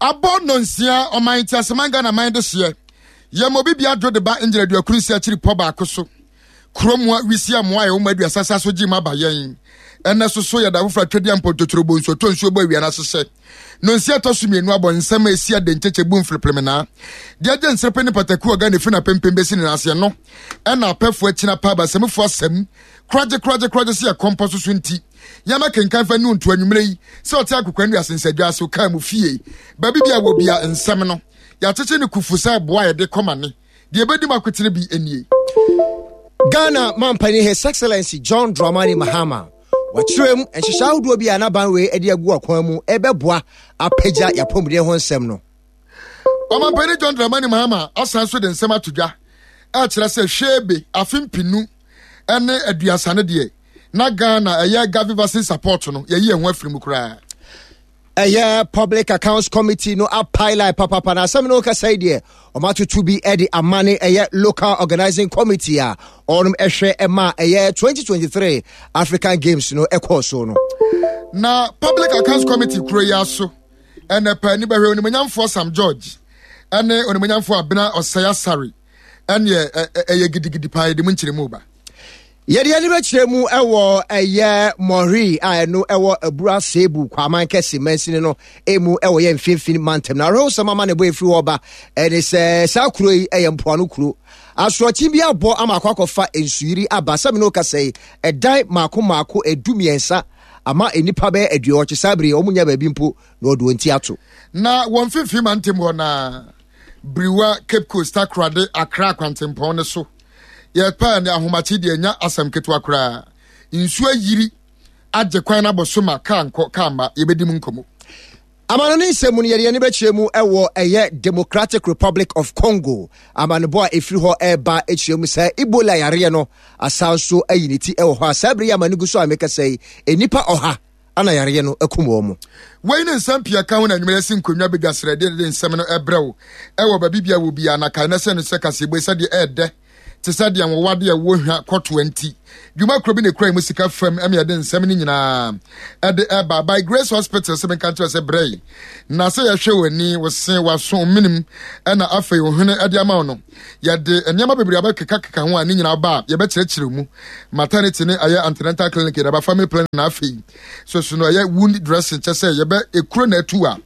Abɔ nnɔnsia, ɔman nteaseman Ghana man dehyeɛ. Yɛma obi bia dwo de ba ngyina aduakuru nsi akyiri pɔ baako so. Kuro mua wisi amoa a ɛwɔ mu aduasa sa so gye mu aba yɛn. Ɛnɛ so so yɛda foforɔ atwadeɛ mpɔntotoro bɔ nsuo tɔ nsuo bɔ awia no ahyehyɛ. Nonsia ɛtɔ so mmienu abɔ nsɛm a ɛsi ade nkyɛkyɛ bu mfreplemenaa. Deɛ agye nserepe ne pataku ɔga ne fi na pempem bɛsi ne nan aseɛ no ɛna apɛfoɔ akyina pa abasamufoɔ asɛm koragye koragye koragye sɛ yɛkɔmpɔ so so nti yɛma kenkan fa nu nto anwummerɛ yi sɛ ɔte akokwa nnua sensadwa ase ɔkaa mu fie baabi bi a wɔ bia nsɛm no yɛakyekye ne kufu sɛ boa yɛde kɔma ne deɛ ɛbɛdi mu akotene bi nie. Ghana mampanin His Excellency John Dramani Mahama wakyerɛ mu nhyehyɛ ahodoɔ bi a n'aban wei de agu akwan mu ɛbɛboa apagya yɛapɔmuden ho nsɛm no. Ɔmampanin John Dramani Mahama asan so de nsɛm ato dwa ɛkyerɛ sɛ hwɛebe afe mpinu ne aduasa no deɛ na Ghana ɛyɛ Gavi vaccine support no yɛyi ɛho afiri mu koraa. Ɛyɛ Public Accounts Committee no apae lai papapa na asɛm no kasa yi deɛ ɔmatoto bi de ama ne ɛyɛ Local Organizing Committee a ɔnom ɛhwɛ ɛma ɛyɛ 2023 African Games no ɛkɔɔ so no. Na Public Accounts Committee kuro yi aso ɛnɛ pɛ ni bɛhwɛ onimonyamfoɔ Sam George ɛne onimonyamfoɔ Abena Ɔsɛe Asare ɛneɛ ɛyɛ gidigidi paa yɛde mu nkyerɛmu ba. Yɛde ani bɛkyerɛ mu wɔ ɛyɛ Mɔhri a ɛno ɛwɔ Abura Sebu Kwaman Kɛse mansini no emu ɛwɔ yɛ mfinfin mantam. Na awerɛhosɛm ama ne bɔ efiri hɔ ba ɛne sɛ saa kuro yi ɛyɛ mpoano kuro. Asorɔkye bi abɔ ama akɔ akɔfa nsuyiri aba sɛ mene okasa yi ɛdan mako mako 13 ama nnipa bɛyɛ 80 saa bere yi wɔn nya baabi mpo na wɔde wɔn ti ato. Na wɔ mfinfin mantam hɔ na Biriwa, Cape Coast, Takoradi, Accra kwantempɔn no so. Yɛpɛɛ ne ahomakye deɛ nya asɛm ketewa koraa. Nsuo ayiri agye kwan no abɔ so ma kaa nkɔ kaa mma. Yɛbɛdi mu nkɔmmɔ. Amanɔne nsɛm mu no, yɛde yɛn ani bɛkyerɛ mu wɔ ɛyɛ Democratic Republic of Congo amanebɔ a ɛfiri hɔ ɛreba kyerɛ mu sɛ Ebola yareɛ no asan so ayi ne ti wɔ hɔ a saa bere yi amane gu so a mekasa yi nnipa 100 ana yareɛ no akum wɔn mo. Wei ne nsɛm pii a ɛka ho na anwummerɛ yɛasi nkonnwa badwa srɛdeɛ de nsɛm no ɛbrɛ wo ɛwɔ baabi bia wɔ biara na kae na sɛ no sɛ kaseɛbue sɛdeɛ ɛɛdɛ te sɛ deɛ nwowa deɛ ɛwɔ hwa kɔtoa nti dwuma kuro bi na ɛkura mu sika fam ɛma yɛde nsɛm no nyinaa ɛde ɛba by Grace Hospital sɛ menka nkyerɛ sɛ brɛ yi na sɛ yɛhwɛ w'ani wo se w'aso menim ɛna afei wo hwene ɛde ama wo no yɛde nneɛma bebree abɛkekakeka ho a ne nyinaa ba a yɛbɛkyerɛkyerɛ mu maternity ne ɛyɛ antenatal clinic yɛde aba family planning na afei so so no ɛyɛ wound dressing kyɛ sɛ yɛbɛ ekuro na atu a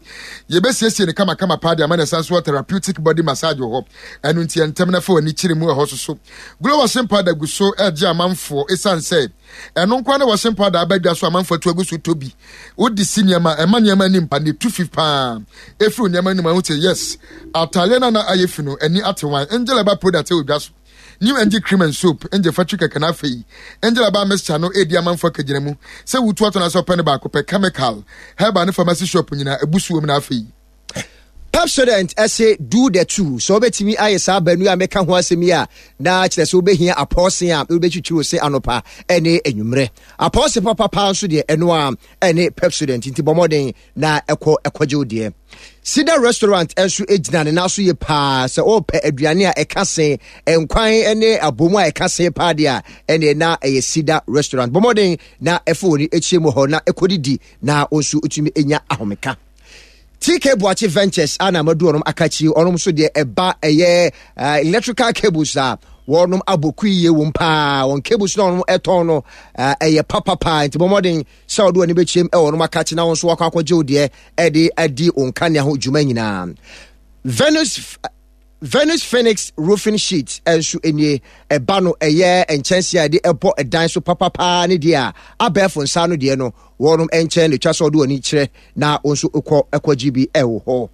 yɛbɛsiesie ne kamakama paa de ama na ɛsan so wɔ therapeutic body massage wɔ hɔ ɛno nti ɛntɛm na fa w'ani kyerɛ mu ɛhɔ so so glow washing powder gu so ɛgye amanfoɔ ɛsiane sɛ ɛno nkoa ne washing powder aba dwa so amanfoɔ atu agu so tɔ bi wode si nneɛma ɛma nneɛma anim pa ne tu fi paa ɛfiri nneɛma anim ahu sɛ yes ataadeɛ no na ayɛ fi no ani ate wan angel ɛba product ɛwɔ dwa so New Angel Cream and Soap, Angel Factory kɛkɛ na afei Angel Herbal Mixture no redi amanfo akagyina mu sɛ wutu atɔ na sɛ ɔpɛ no baako pɛ chemical, herbal ne pharmacy shop nyinaa abu so wom na afei. Pepsodent se do the two. Sɛ wobɛtumi ayɛ saa baanu a meka ho asɛm yi a, na kyerɛ sɛ wobɛhia apɔɔse a wobɛtwitwi wo se anɔpa ne anwummerɛ. Apɔɔse papa paa nso deɛ ɛno a ɛne Pepsodent nti bɔ mmɔden na ɛkɔ ɛkɔgye wo deɛ. Cedar Restaurant nso gyina ne nan so yie paa sɛ ɔrepɛ aduane a ɛka se nkwan ne abomu a ɛka se paa deɛ a ɛneɛ na ɛyɛ Cedar Restaurant. Bɔ mmɔden na ɛfa w'ani akyire mu hɔ na ɛkɔdidi na wo nso wotumi nya ahomeka. TK Boakye Ventures a na madu ɔnom akakyi ɔnom nso deɛ ɛba ɛyɛ eh, electrical cables a wɔnom abɔ kui yie wɔm paa wɔn cables na wɔnom ɛtɔn no eh, ɛyɛ papapaa nti bɔ mmɔden sɛ ɔde w'ani bɛkyerɛm ɛwɔ ɔnom akakyi na wɔn nso wakɔ akɔgye wo deɛ ɛde adi wɔn kanea ho dwuma nyinaa. Venus Venus Phoenix roofing sheet nso nie. Ɛba no ɛyɛ nkyɛnse a yɛde ɛbɔ ɛdan so papapaa ne deɛ a abɛɛfo nsa ano deɛ no wɔnom nkyɛn na etwa sɛ ɔde w'ani kyerɛ na wɔn nso kɔ ɛkɔgye bi ɛwɔ hɔ.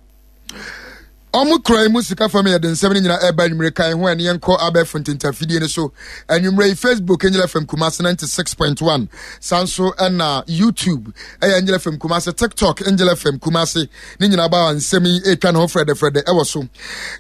Ɔmo kura mu sika fam yɛde nsɛm no nyinaa ɛba anwummere kan ho ɛne yɛnkɔ abɛɛfo ntentafidie no so anwummere yi Facebook Angel FM Kumasi 96.1 saa nso ɛna YouTube ɛyɛ Angel FM Kumasi TikTok Angel FM Kumasi ne nyinaa ba nsɛm yi ɛretwa ne ho frɛdɛfrɛdɛ ɛwɔ so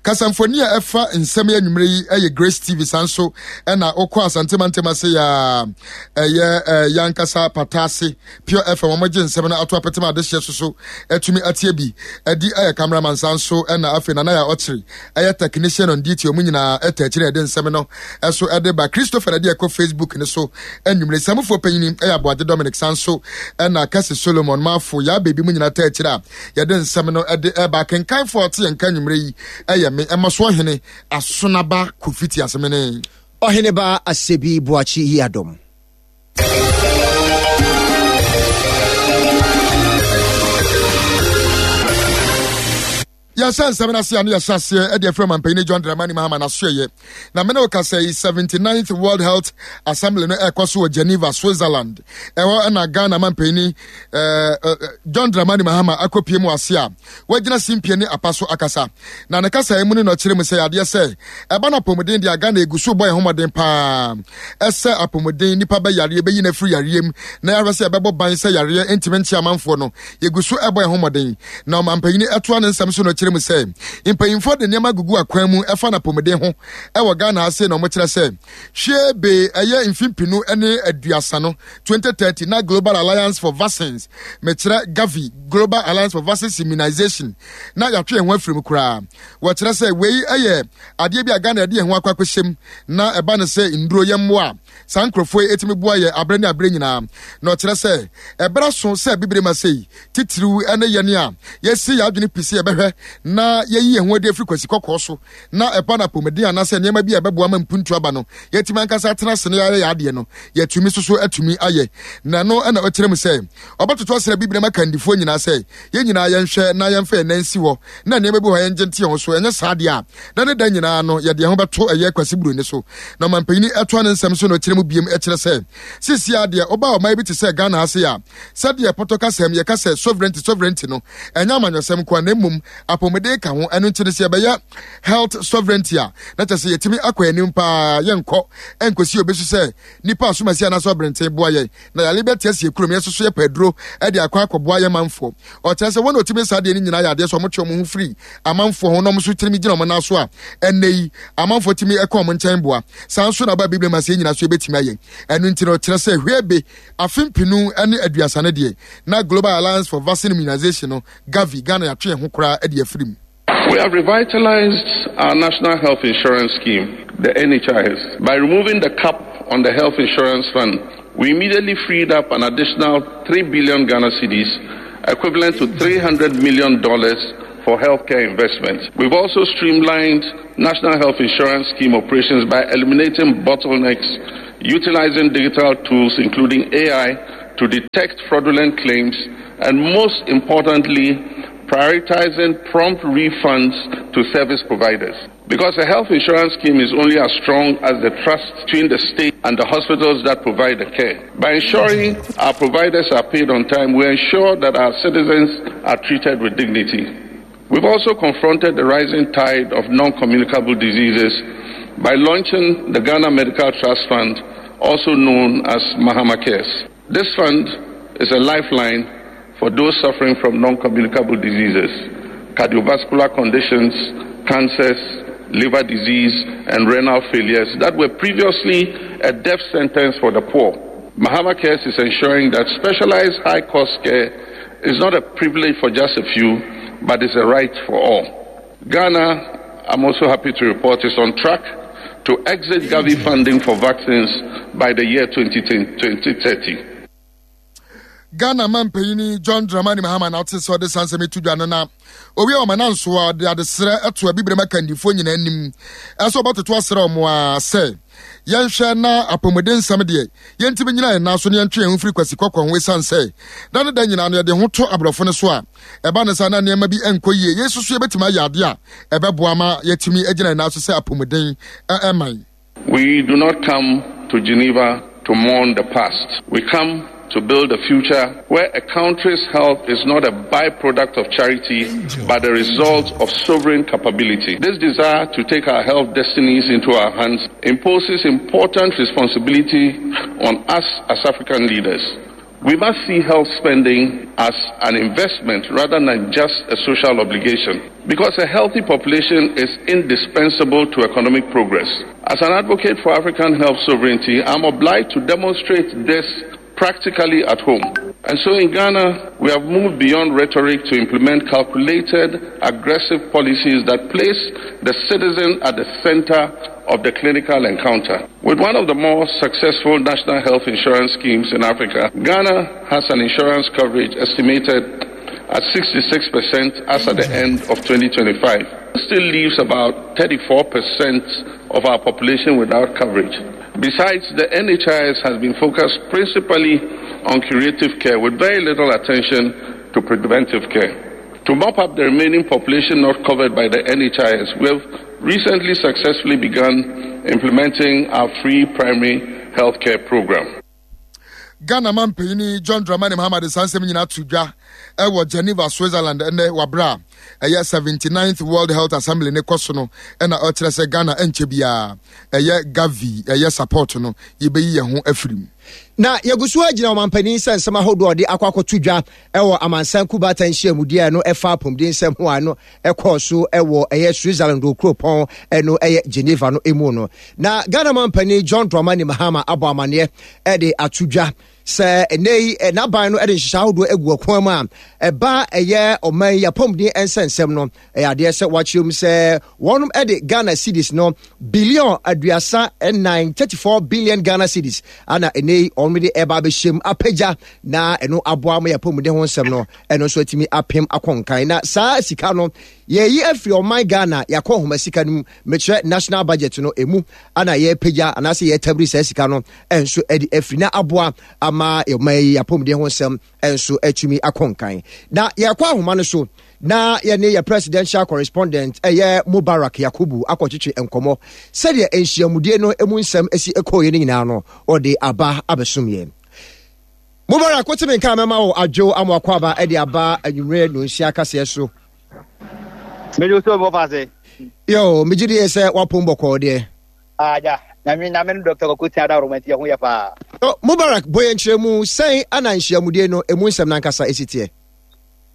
kasamfoni a ɛfa nsɛm yi anwummere yi ɛyɛ Grace TV saa nso ɛna wokɔ Asante mantam ase yɛ ɛyɛ yankasa pataase Pure FM wɔn gye nsɛm no ato apetem adehyeɛ so so atumi atie bi ɛdi ɛyɛ cameraman saa nso ɛna. afei Nana Yaa Ɔkyere ɛyɛ technician on duty ɔmo nyinaa ɛta akyire ɛde nsɛm no ɛso ɛde ba. Christopher na ɛde ɛkɔ Facebook no so anwummere. Samufoɔ panyini ɛyɛ Aboagye Dominic san so ɛna Kɛse Solomon Mafo Yaa Baby mu nyinaa ta akyire a yɛde nsɛm no ɛde ɛba. Akenkanfoɔ a ɔte yɛn nka anwummere yi ɛyɛ me Ɛmɔsoɔ Hene Asonaba Kofi Tiasemene. Ɔheneba Asebi Boakye Yiadom. Yɛhyɛ nsɛm no ase a ne yɛhyɛ aseɛ de afiri ɔmampanin John Dramani Mahama n'asoɛyɛ. Na mene wo kasa yi 79th World Health Assembly no ɛrekɔ so wɔ Geneva, Switzerland. Ɛhɔ na Ghana mampanin eh, eh, John Dramani Mahama akɔpie mu ase a wagyina simpie ne apa so akasa. Na ne kasa yi mu no na ɔkyerɛ mu sɛ adeɛ sɛ ɛba no apɔmuden deɛ Ghana egu so bɔ yɛn ho mmɔden paa ɛsɛ apɔmuden nipa bɛ yareɛ bɛyi no afiri yareɛ mu na yɛahwɛ sɛ ɛbɛbɔ ban sɛ yareɛ ntumi nkye amanfoɔ no yɛgu so ɛbɔ yɛn ho mmɔden. Na ɔmampanyini ɛtoa ne nsɛm so na ɔkyerɛ mu sɛ mpanyinfoɔ de nneɛma gugu akwan mu ɛfa no apɔmuden ho ɛwɔ Ghana ha sei na wɔkyerɛ sɛ hwie be ɛyɛ mfe mpinu ne aduasa no 2030 na Global Alliance for Vaccines mekyerɛ Gavi Global Alliance for Vaccines Immunization na yɛatwe yɛn ho afiri mu koraa. Wɔkyerɛ sɛ wei yɛ adeɛ bi a Ghana yɛde yɛn ho akɔ akɔhyɛ mu na ɛba no sɛ nnuro yɛ mmoa a saa nkurɔfoɔ yi ɛtumi boa yɛ aberɛ ne aberɛ nyinaa. Na ɔkyerɛ sɛ ɛberɛ so sɛ bibire ma sei titiriw ne yɛn a yɛsi yɛn adwene pi sɛ yɛbɛhwɛ na yɛyi yɛn ho adi afiri kwasi kɔkɔɔ so na ɛba no apɔmuden anaasɛ nneɛma bi a ɛbɛboa ma mpuntu aba no yɛatumi ankasa atena ase na yɛayɛ yɛn adeɛ no yɛatumi soso atumi ayɛ. Na ɛno na ɔkyerɛ mu sɛ ɔbɛtoto asrɛ bibire ma kandifoɔ nyinaa sɛ yɛn nyinaa yɛnhwɛ na yɛmfa yɛn nan nsi hɔ na nneɛma bi wɔ hɔ a yɛngye nte yɛn ho so, ɛnyɛ saa deɛ a, da ne da nyinaa no yɛde yɛn ho bɛto ɛyɛ Kwasi Buroni so. Na ɔmampanyini ɛtoa ne nsɛm so na ɔkyerɛ mu biem kyerɛ sɛ seesei ara deɛ woba ɔman bi te sɛ Ghana ha sei a, sɛdeɛ pɔtɔ kasam yɛka sɛ sovereignty sovereignty no, ɛnyɛ amanyɔsɛm nko ara na mmom apɔmuden ka ho, ɛno nti no sɛ yɛbɛyɛ health sovereignty a, na kyerɛ sɛ yɛtumi akɔ anim paa, yɛnkɔ ɛnkɔsi obi so sɛ nipa asomasi anaasɛ ɔberenten boa yɛn na yare bɛte asi kurom, yɛn nso so yɛpɛ aduro de akɔ akɔboa yɛn manfoɔ. Ɔkyerɛ sɛ wɔn a wɔtumi saa adeɛ no nyinaa yɛ adeɛ sɛ wɔtwe wɔn ho firi amanfoɔ ho na wɔn nso tumi gyina wɔn nan so a ɛnnɛ yi amanfoɔ tumi kɔ wɔn nkyɛn boa. Saa nso na aba Biblia mu ase yɛn nyinaa so yɛbɛtumi ayɛ. Ɛno nti no ɔkyerɛ sɛ hwɛbe afe mpenu ne aduasa no deɛ na Global Alliance for Vaccine Immunization no, Gavi, Ghana yɛatwe yɛn ho koraa de afiri mu. We have revitalized our national health insurance scheme, the NHIS, by removing the cap on the health insurance fund. We immediately freed up an additional 3 billion Ghana cedis, equivalent to $300 million for healthcare investments. We've also streamlined national health insurance scheme operations by eliminating bottlenecks, utilizing digital tools including AI to detect fraudulent claims, and most importantly, prioritizing prompt refunds to service providers. Because a health insurance scheme is only as strong as the trust between the state and the hospitals that provide the care. By ensuring our providers are paid on time, we ensure that our citizens are treated with dignity. We've also confronted the rising tide of non communicable diseases by launching the Ghana Medical Trust Fund, also known as Mahama Cares. This fund is a lifeline for those suffering from non communicable diseases, cardiovascular conditions, cancers, liver disease, and renal failures that were previously a death sentence for the poor. Mahama Cares is ensuring that specialized high cost care is not a privilege for just a few, but is a right for all. Ghana, I'm also happy to report, is on track to exit Gavi funding for vaccines by the year 2030. Ghana mampanyini John Dramani Mahama na ɔte sɛ ɔde saa nsɛm to dwa no na owie ɔma na nso a ɔde adesrɛ ɛto abibirem akandifoɔ nyinaa anim ɛsɛ ɔbɛtoto asrɛ ɔmo a sɛ yɛnhwɛ na apɔmuden nsɛm deɛ yɛntumi nyina yɛn nan so na yɛntwe yɛn ho firi kwasi kɔkɔɔ ho ɛsiane sɛ da ne da nyinaa no yɛde ho to aborɔfo no so a ɛba no saa na nneɛma bi nkɔ yie yɛn nso so yɛbɛtumi ayɛ adeɛ a ɛbɛboa ma yɛatumi agyina yɛn nan so sɛ apɔmuden ɛman. We do not come to Geneva to mourn the past. We come to build a future where a country's health is not a byproduct of charity, but the result of sovereign capability. This desire to take our health destinies into our hands imposes important responsibility on us as African leaders. We must see health spending as an investment rather than just a social obligation because a healthy population is indispensable to economic progress. As an advocate for African health sovereignty, I'm obliged to demonstrate this practically at home. And so in Ghana, we have moved beyond rhetoric to implement calculated, aggressive policies that place the citizen at the center of the clinical encounter. With one of the more successful national health insurance schemes in Africa, Ghana has an insurance coverage estimated at 66% as at the end of 2025. This still leaves about 34% of our population without coverage. Besides, the NHIS has been focused principally on curative care with very little attention to preventive care. To mop up the remaining population not covered by the NHIS, we have recently successfully begun implementing our free primary healthcare program. Ghana mampanyini John Dramani Mahama de saa nsɛm nyinaa to dwa wɔ Geneva, Switzerland ɛnɛ wɔ a ɛyɛ 79th World Health Assembly ne kɔ so no ɛna ɔkyerɛ sɛ Ghana ɛnkyɛ biara ɛyɛ Gavi ɛyɛ support no yɛbɛyi yɛn ho afiri mu. Na yɛgu so agyina ɔmampanin sɛ nsɛm ahodoɔ a ɔde akɔ akɔto dwa wɔ amansan kubata nhyiamudie a ɛno ɛfa apɔmuden nsɛm ho a ɛno ɛkɔɔ so wɔ ɛyɛ Switzerland wɔ kuropɔn ɛno ɛyɛ Geneva no emu no. Na Ghana mampanin John Dramani Mahama abɔ amaneɛ ɛde ato dwa sɛ ɛnɛ yi n'aban no ɛde nhyehyɛ ahodoɔ agu ɔkwan mu a ɛba ɛyɛ ɔman yi apɔmuden nsɛnsɛm no ɛyɛ adeɛ sɛ wɔakyerɛ mu sɛ wɔnom de Ghana cedis no billion 34, 34 billion Ghana cedis ana ɛnɛ yi wɔnom de ɛba abɛhyɛ mu apagya na ɛno aboa ma yɛapɔmuden ho nsɛm no ɛno nso atumi apem akɔ nkan na saa sika no yɛyi afiri ɔman Ghana yɛakɔ nhoma sika no mu mekyerɛ national budget no ɛmu ana yɛpagya anaasɛ yɛtabiri saa sika no ɛnso ɛde afiri na aboa ama ɔman yi apɔmuden ho nsɛm nso atumi akɔ nkan. Na yɛkɔ ahoma no so na yɛne yɛ presidential correspondent ɛyɛ Mubarak Yakubu akɔtwetwe nkɔmmɔ sɛdeɛ nhyiamudie no mu nsɛm asi kɔɔeɛ no nyinaa no ɔde aba abɛsom yɛn. Mubarak, wote me nka mɛma wo adwo ama wakɔ aba de aba anwummerɛ nonsia kaseɛ so. Mede wo so mɔfa ase. Yo, megye die sɛ wapom bɔkɔɔ deɛ. Agya, Nyame Nyame no Dɔkta Kwaku Tia Daworo nti ɛho yɛ paa. So Mubarak bɔ yɛn nkyerɛmu sɛn ana nhyiamudie no ɛmu nsɛm no ankasa ɛsi teɛ?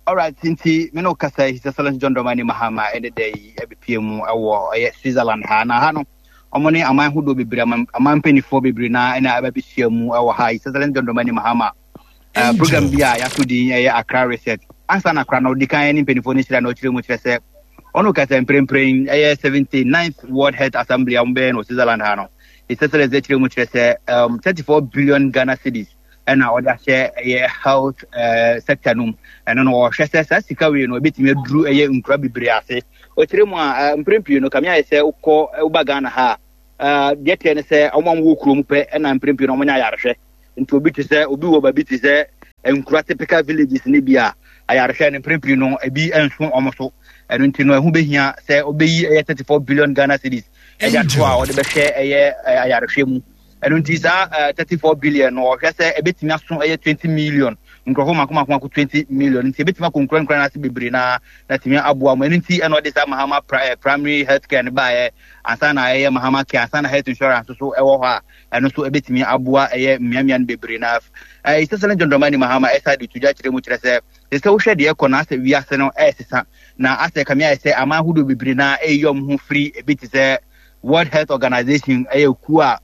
Alright, nti me ne wo kasa yi, His Excellency John Dramani Mahama ɛne da yi ɛbɛpie mu ɛwɔ ɛyɛ Switzerland ha. Na ha no, wɔn ne aman hodoɔ bebree, aman mpanimfoɔ bebree na ɛna ɛbɛbɛhyia mu ɛwɔ ha. His Excellency John Dramani Mahama uh, program bi a yɛato din ɛyɛ Accra Reset. Ansa na akora no ɔdi kan ne mpanimfoɔ no hyira na ɔkyerɛ mu kyerɛ sɛ ɔno kasa mprempren ɛyɛ 79th World Health Assembly a wɔbɛyɛ no wɔ Switzerland ha no. His Excellency kyerɛ mu kyerɛ sɛ um, 34 billion Ghana cedis ɛna ɔde ahyɛ ɛyɛ health uh, sector no mu. Ɛno no ɔhwɛ sɛ saa sika wei no ɛbɛtumi aduru ɛyɛ nkura bebree ase. Ɔkyerɛ mu a uh, mprempren pii no kame ayɛ sɛ wokɔ woba Ghana ha a uh, deɛ teɛ ne sɛ wɔn a wɔwɔ kurom pɛ ɛna mprempren no wɔnya ayarehwɛ. Nti obi te sɛ obi wɔ baabi te sɛ nkura typical villages ne bi a ayarehwɛ no mprempren no ebi nso wɔn so. Ɛno nti no ɛho behia sɛ obeyi ɛyɛ 34 billion Ghana cedis ɛde ato a wɔde bɛhwɛ ɛyɛ ayarehwɛ mu. Ɛno nti saa 34 billion no ɔhwɛ sɛ ebetumi aso ɛyɛ 20 million nkurɔfo mako mako mako 20 million nti ebetumi akɔ nkura nkura n'ase bebree na na tumi aboa mu. Ɛno nti ɛna ɔde saa Mahama primary health care no baeɛ ansa na ɛyɛ Mahama care ansa na health insurance nso ɛwɔ hɔ a ɛno nso ɛbɛtumi aboa ɛyɛ mmeammea no bebree na ɛyɛ sɛ John Dramani Mahama ɛsa de to dwa kyerɛ mu kyerɛ sɛ te sɛ wohwɛ deɛ ɛkɔ na asɛ wiase no ɛresesa na asɛ kame ayɛ sɛ aman ahodoɔ bebree na ɛyɛ wɔn ho firi ebi te sɛ World Health Organization ɛyɛ kuo a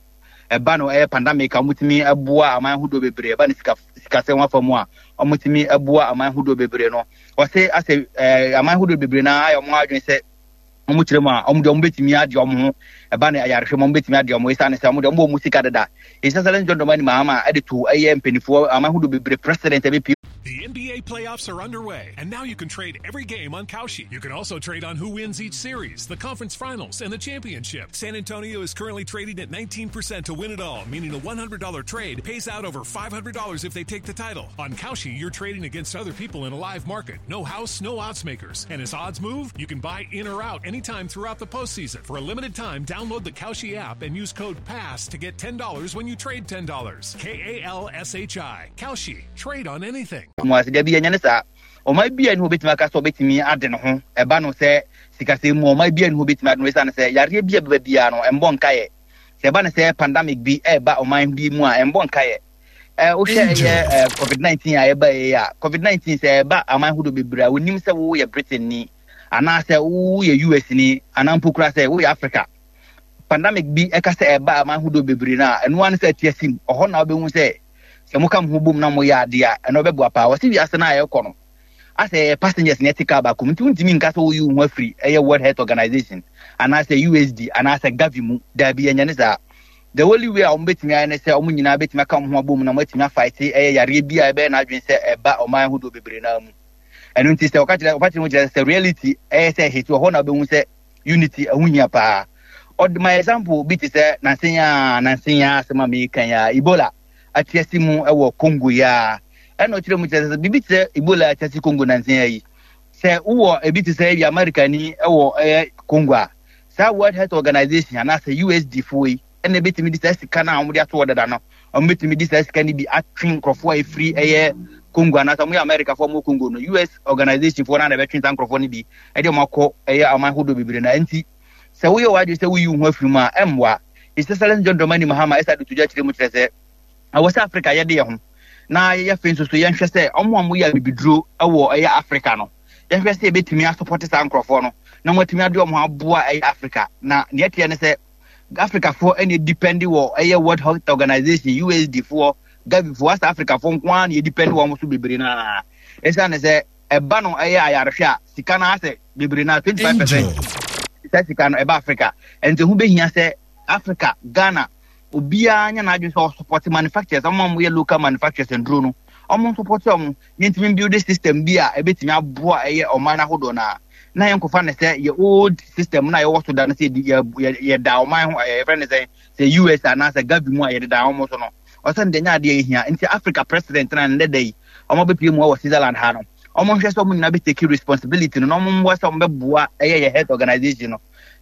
ɛba no ɛyɛ pandemic a wɔtumi ɛboa aman ahodoɔ bebree ɛba no sika sikasɛm afa mu a wɔtumi ɛboa aman ahodoɔ bebree no wɔsɛ asɛ ɛɛ aman ahodoɔ bebree na ayɛ wɔn adwene sɛ wɔn kyerɛ mu a wɔn deɛ wɔn bɛtumi adi wɔn ho ɛba no ayarehwɛ mu wɔn bɛtumi adi wɔn ho esiane sɛ wɔn deɛ wɔn wɔ wɔn sika deda His Excellency John Dramani Mahama ɛde to ɛyɛ mpanimfoɔ aman ahodoɔ bebree president ɛbɛpie The NBA playoffs are underway, and now you can trade every game on Kalshi. You can also trade on who wins each series, the conference finals, and the championship. San Antonio is currently trading at 19% to win it all, meaning a $100 trade pays out over $500 if they take the title. On Kalshi, you're trading against other people in a live market. No house, no odds makers. And as odds move, you can buy in or out anytime throughout the postseason. For a limited time, download the Kalshi app and use code PASS to get $10 when you trade $10. K A L S H I. Kalshi. Trade on anything. Mu ase dabi ɛnyɛ ne saa ɔman bi a ne hɔ bɛtumi aka sɛ ɔbɛtumi ade ne ho ɛba no sɛ sikasɛm mu ɔman bi a ne hɔ bɛtumi ade no ɛsiane sɛ yareɛ bi a bɛba biara no ɛmbɔ nkaeɛ sɛ ɛba no sɛ pandemic bi ɛreba ɔman bi mu a ɛmbɔ nkaeɛ wohwɛ ɛyɛ covid-19 a ɛba yɛ a covid-19 sɛ ɛba aman ahodoɔ bebree a wonim sɛ woyɛ Britain ni anaasɛ woyɛ US ni anaa mpo kura sɛ woyɛ Africa pandemic bi ɛka sɛ ɛba aman ahodoɔ bebree no a ɛno ara ne sɛ ɛte asim ɔhɔ na wobɛhu sɛ. Sɛ moka mo ho bom na moyɛ adeɛ a, ɛno ɛbɛboa paa. Wɔse wiase no a yɛkɔ no, asɛ yɛyɛ passengers na yɛte car baako mu, nti wontumi nka sɛ woyi wo ho afiri ɛyɛ World Health Organization anaasɛ USD anaasɛ Gavi mu. Daabi, ɛnyɛ ne saa. The only way a wɔbɛtumi ayɛ ne sɛ wɔn nyinaa bɛtumi aka wɔn ho abom na wɔatumi afaete ɛyɛ yareɛ bi a ɛbɛyɛ n'adwene sɛ ɛba ɔman ahodoɔ bebree naa mu. Ɛno nti sɛ ɔka kyerɛ ɔfa kyerɛ mu kyerɛ sɛ reality ɛyɛ sɛ ɛhete wɔ hɔ na wobɛhu sɛ unity ɛho hia paa. Ɔde my example bi te sɛ nansen a nansen a asɛm a meka yi a Ebola atiase mu wɔ Congo yi a ɛna ɔkyerɛ mu kyerɛ sɛ biribi te sɛ Ebola atiase Congo nansen yi sɛ wowɔ ebi te sɛ ebi America ni ɛwɔ ɛyɛ Congo a saa World Health Organization anaasɛ USD foɔ yi ɛna ebetumi de saa sika no a wɔde ato hɔ dada no wɔbetumi de saa sika no bi atwe nkurɔfoɔ a efiri ɛyɛ Congo anaasɛ wɔyɛ America foɔ wɔn Congo no US organization foɔ no na ɛbɛtwe saa nkurɔfoɔ no bi ɛde wɔn akɔ ɛyɛ aman ahodoɔ bebree na nti sɛ woyɛ w'adwene sɛ woyi wo ho afiri mu a ɛmmoa. His Excellency John Dramani Mahama ɛsa de to dwa kyerɛ mu kyerɛ sɛ ɛwɔ sɛ Africa yɛde yɛ ho na yɛyɛ afei nso so yɛnhwɛ sɛ ɔmo a wɔyɛ abibiduro wɔ ɛyɛ Africa no yɛhwɛ sɛ yɛbɛtumi asopɔte saa nkurɔfoɔ no na wɔatumi ade wɔn aboa ɛyɛ Africa na nea ɛteɛ ne sɛ Africafoɔ ɛna depend wɔ ɛyɛ World Health Organization USD foɔ Gavi foɔ asa Africafoɔ nko ara na yɛdepend wɔn so bebree naa ɛsiane sɛ ɛba no ɛyɛ ayarehwɛ a sika no asɛ bebree naa 25% sɛ sika no ɛba Africa ɛnti ho bɛhia sɛ Africa Ghana obiara nyɛ n'adwene sɛ ɔsupɔte manufacturers ɔmo a wɔyɛ local manufacturers nduro no ɔmo nsupɔte ɔmo yɛntumi build system bi a ɛbɛtumi aboa ɛyɛ ɔman ahodoɔ no a na yɛnkɔfa no sɛ yɛ old system no a yɛwɔ so da no sɛ yɛda ɔman ho yɛfrɛ no sɛ sɛ US anaasɛ Gavi mu a yɛdeda wɔn so no ɔsɛ no deɛ nyɛ adeɛ yɛhia nti Africa president na nnɛ da yi wɔn abɛpie mu wɔ Switzerland ha no wɔn nhwɛ sɛ wɔn nyinaa bɛtake responsibility no na wɔn mmoa sɛ wɔn bɛboa ɛyɛ yɛ health organization no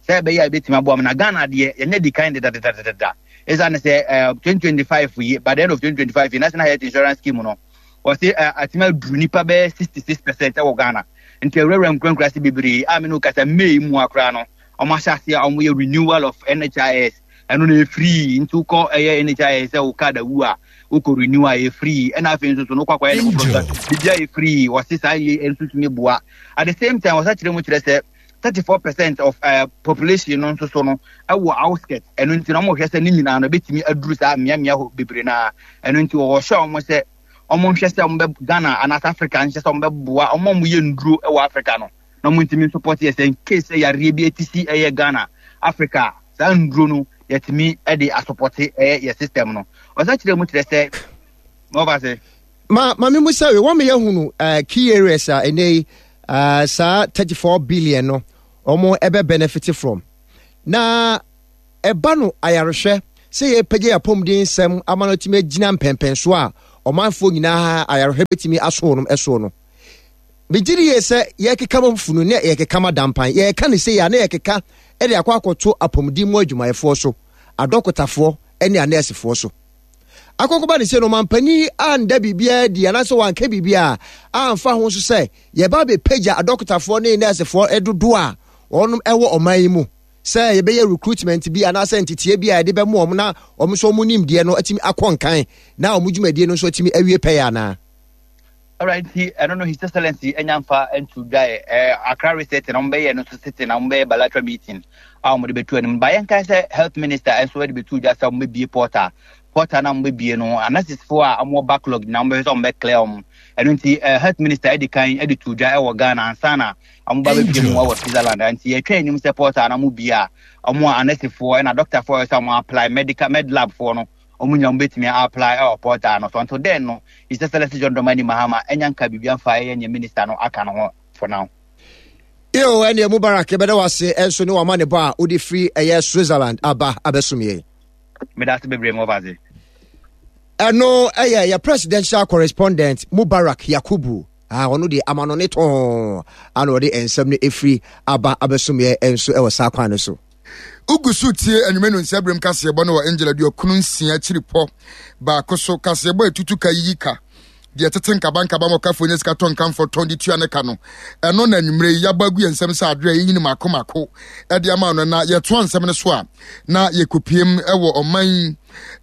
sɛ ɛbɛyɛ a ɛbɛtumi aboa mu na Ghana deɛ yɛnyɛ di kan dedadedadeda ɛsiane sɛ 2025 yi by the end of 2025 yi National Health Insurance Scheme no wɔse atumi aduru nipa bɛyɛ 66% wɔ Ghana nti awurawura nkurakura ase bebree a me ne kasa May mu akora no wɔn ahyɛ ase a wɔyɛ renewal of NHIS ɛno no ɛfiri nti wokɔ ɛyɛ NHIS sɛ wo card awu a wokɔ renew a ɛfiri ɛna afei nso so no wokɔ akɔyɛ ne foforɔ so biribi a ɛfiri wɔse saa yɛ nso tumi boa at the same time wɔsa kyerɛ mu kyerɛ sɛ 34% of population no nso so no ɛwɔ outskirt ɛno nti na wɔhwɛ sɛ ne nyinaa no ɛbɛtumi aduru saa mmeammea hɔ bebree naa ɛno nti wɔhyɛ wɔn sɛ wɔn nhwɛ sɛ wɔn bɛ Ghana anaasɛ Africa nhyɛ sɛ wɔn bɛboa wɔn a wɔyɛ nnuro wɔ Africa no na wɔn ntumi support yɛ sɛ in case sɛ yareɛ bi eti si ɛyɛ Ghana Africa saa nnuro no yɛtumi de asopɔte ɛyɛ yɛ system no ɔsɛ kyerɛ mu kyerɛ sɛ wɔba sɛ. Ma ma me musa we wɔn yɛ hunu key areas a ɛnɛ yi saa 34 billion no wɔn ɛbɛ benefit from na ɛba no ayarehwɛ sɛ yɛpɛgya yɛ apɔmuden nsɛm ama no atumi agyina mpɛmpɛnso a ɔmanfoɔ nyinaa ayarehwɛ bɛtumi aso wɔn ɛsoɔ no megye di yie sɛ yɛkeka ma funu ne yɛkeka ma dampan yɛka ne sɛ yɛ a na yɛkeka de akɔ akɔto apɔmuden mu adwumayɛfoɔ so adɔkotafoɔ ne anɛɛsefoɔ so Akɔkɔba ne sɛ no ɔmampanin anda biribiara adi anaasɛ wanka biribiara amfa ho nso sɛ yɛba abɛpagya adɔkotafoɔ ne nɛɛsefoɔ dodoɔ a wɔnom ɛwɔ ɔman yi mu sɛ yɛbɛyɛ recruitment bi anaasɛ nteteɛ bi a yɛde bɛmo wɔn na wɔn nso wɔn nimdeɛ no atumi akɔ nkan na wɔn dwumadie no nso atumi awie pɛyɛ anaa. Alright, nti ɛno no His Excellency anya mfa nto dwa ɛ eh, Accra reset na wɔbɛyɛ no nso sitting na wɔbɛyɛ bilateral meeting a wɔde bɛtu anim. Ba yɛnkae sɛ health minister nso de bɛtu dwa sɛ wɔbɛbie portal. Portal na wɔbɛbie no anasisfoɔ a wɔwɔ backlog na wɔbɛhwɛ sɛ wɔbɛclear wɔn. Ɛno nti eh, health minister de kan de to dwa wɔ Ghana ansa na wɔba bɛpie mu wɔ Switzerland. Nti yɛtwa anim sɛ portal na wɔbie a wɔn a anasifoɔ ɛna doctorfoɔ sɛ wɔn apply medical med lab foɔ no wɔn nyinaa wɔbɛtumi apply ɛwɔ portal no so. Until then no, His Excellency John Dramani Mahama ɛnya nka biribi amfa ɛyɛ nea minister no aka no ho for now. Yo, ɛneɛ Mubarak yɛbɛda wo ase ɛnso ne wama ne bɔ a wode firi ɛyɛ Switzerland aba abɛsom yɛn. Meda ase bebree mo ɔfa ase. Ɛno ɛyɛ yɛ presidential correspondent Mubarak Yakubu. Ah, ɔno deɛ amanɔne tɔn ana ɔde nsɛm no ɛfiri aba abɛsom yɛn nso ɛwɔ saa kwan no so. Wogu so tie anwummerɛ no nsɛberem kaseɛbɔ no wɔ Angel aduokunu nsia akyiri pɔ baako so. Kaseɛbɔ a ɛtutu ka yiyi ka deɛ ɛtete nkabankaba ma ɔkafoɔ nya sika tɔ nkamfɔ tɔn de tua ne ka no. Ɛno na anwummerɛ yi yɛabɔ agu yɛn nsam sɛ adeɛ a yɛnyini mako mako de ama no na yɛtoa nsɛm no so a na yɛkɔpiem wɔ ɔman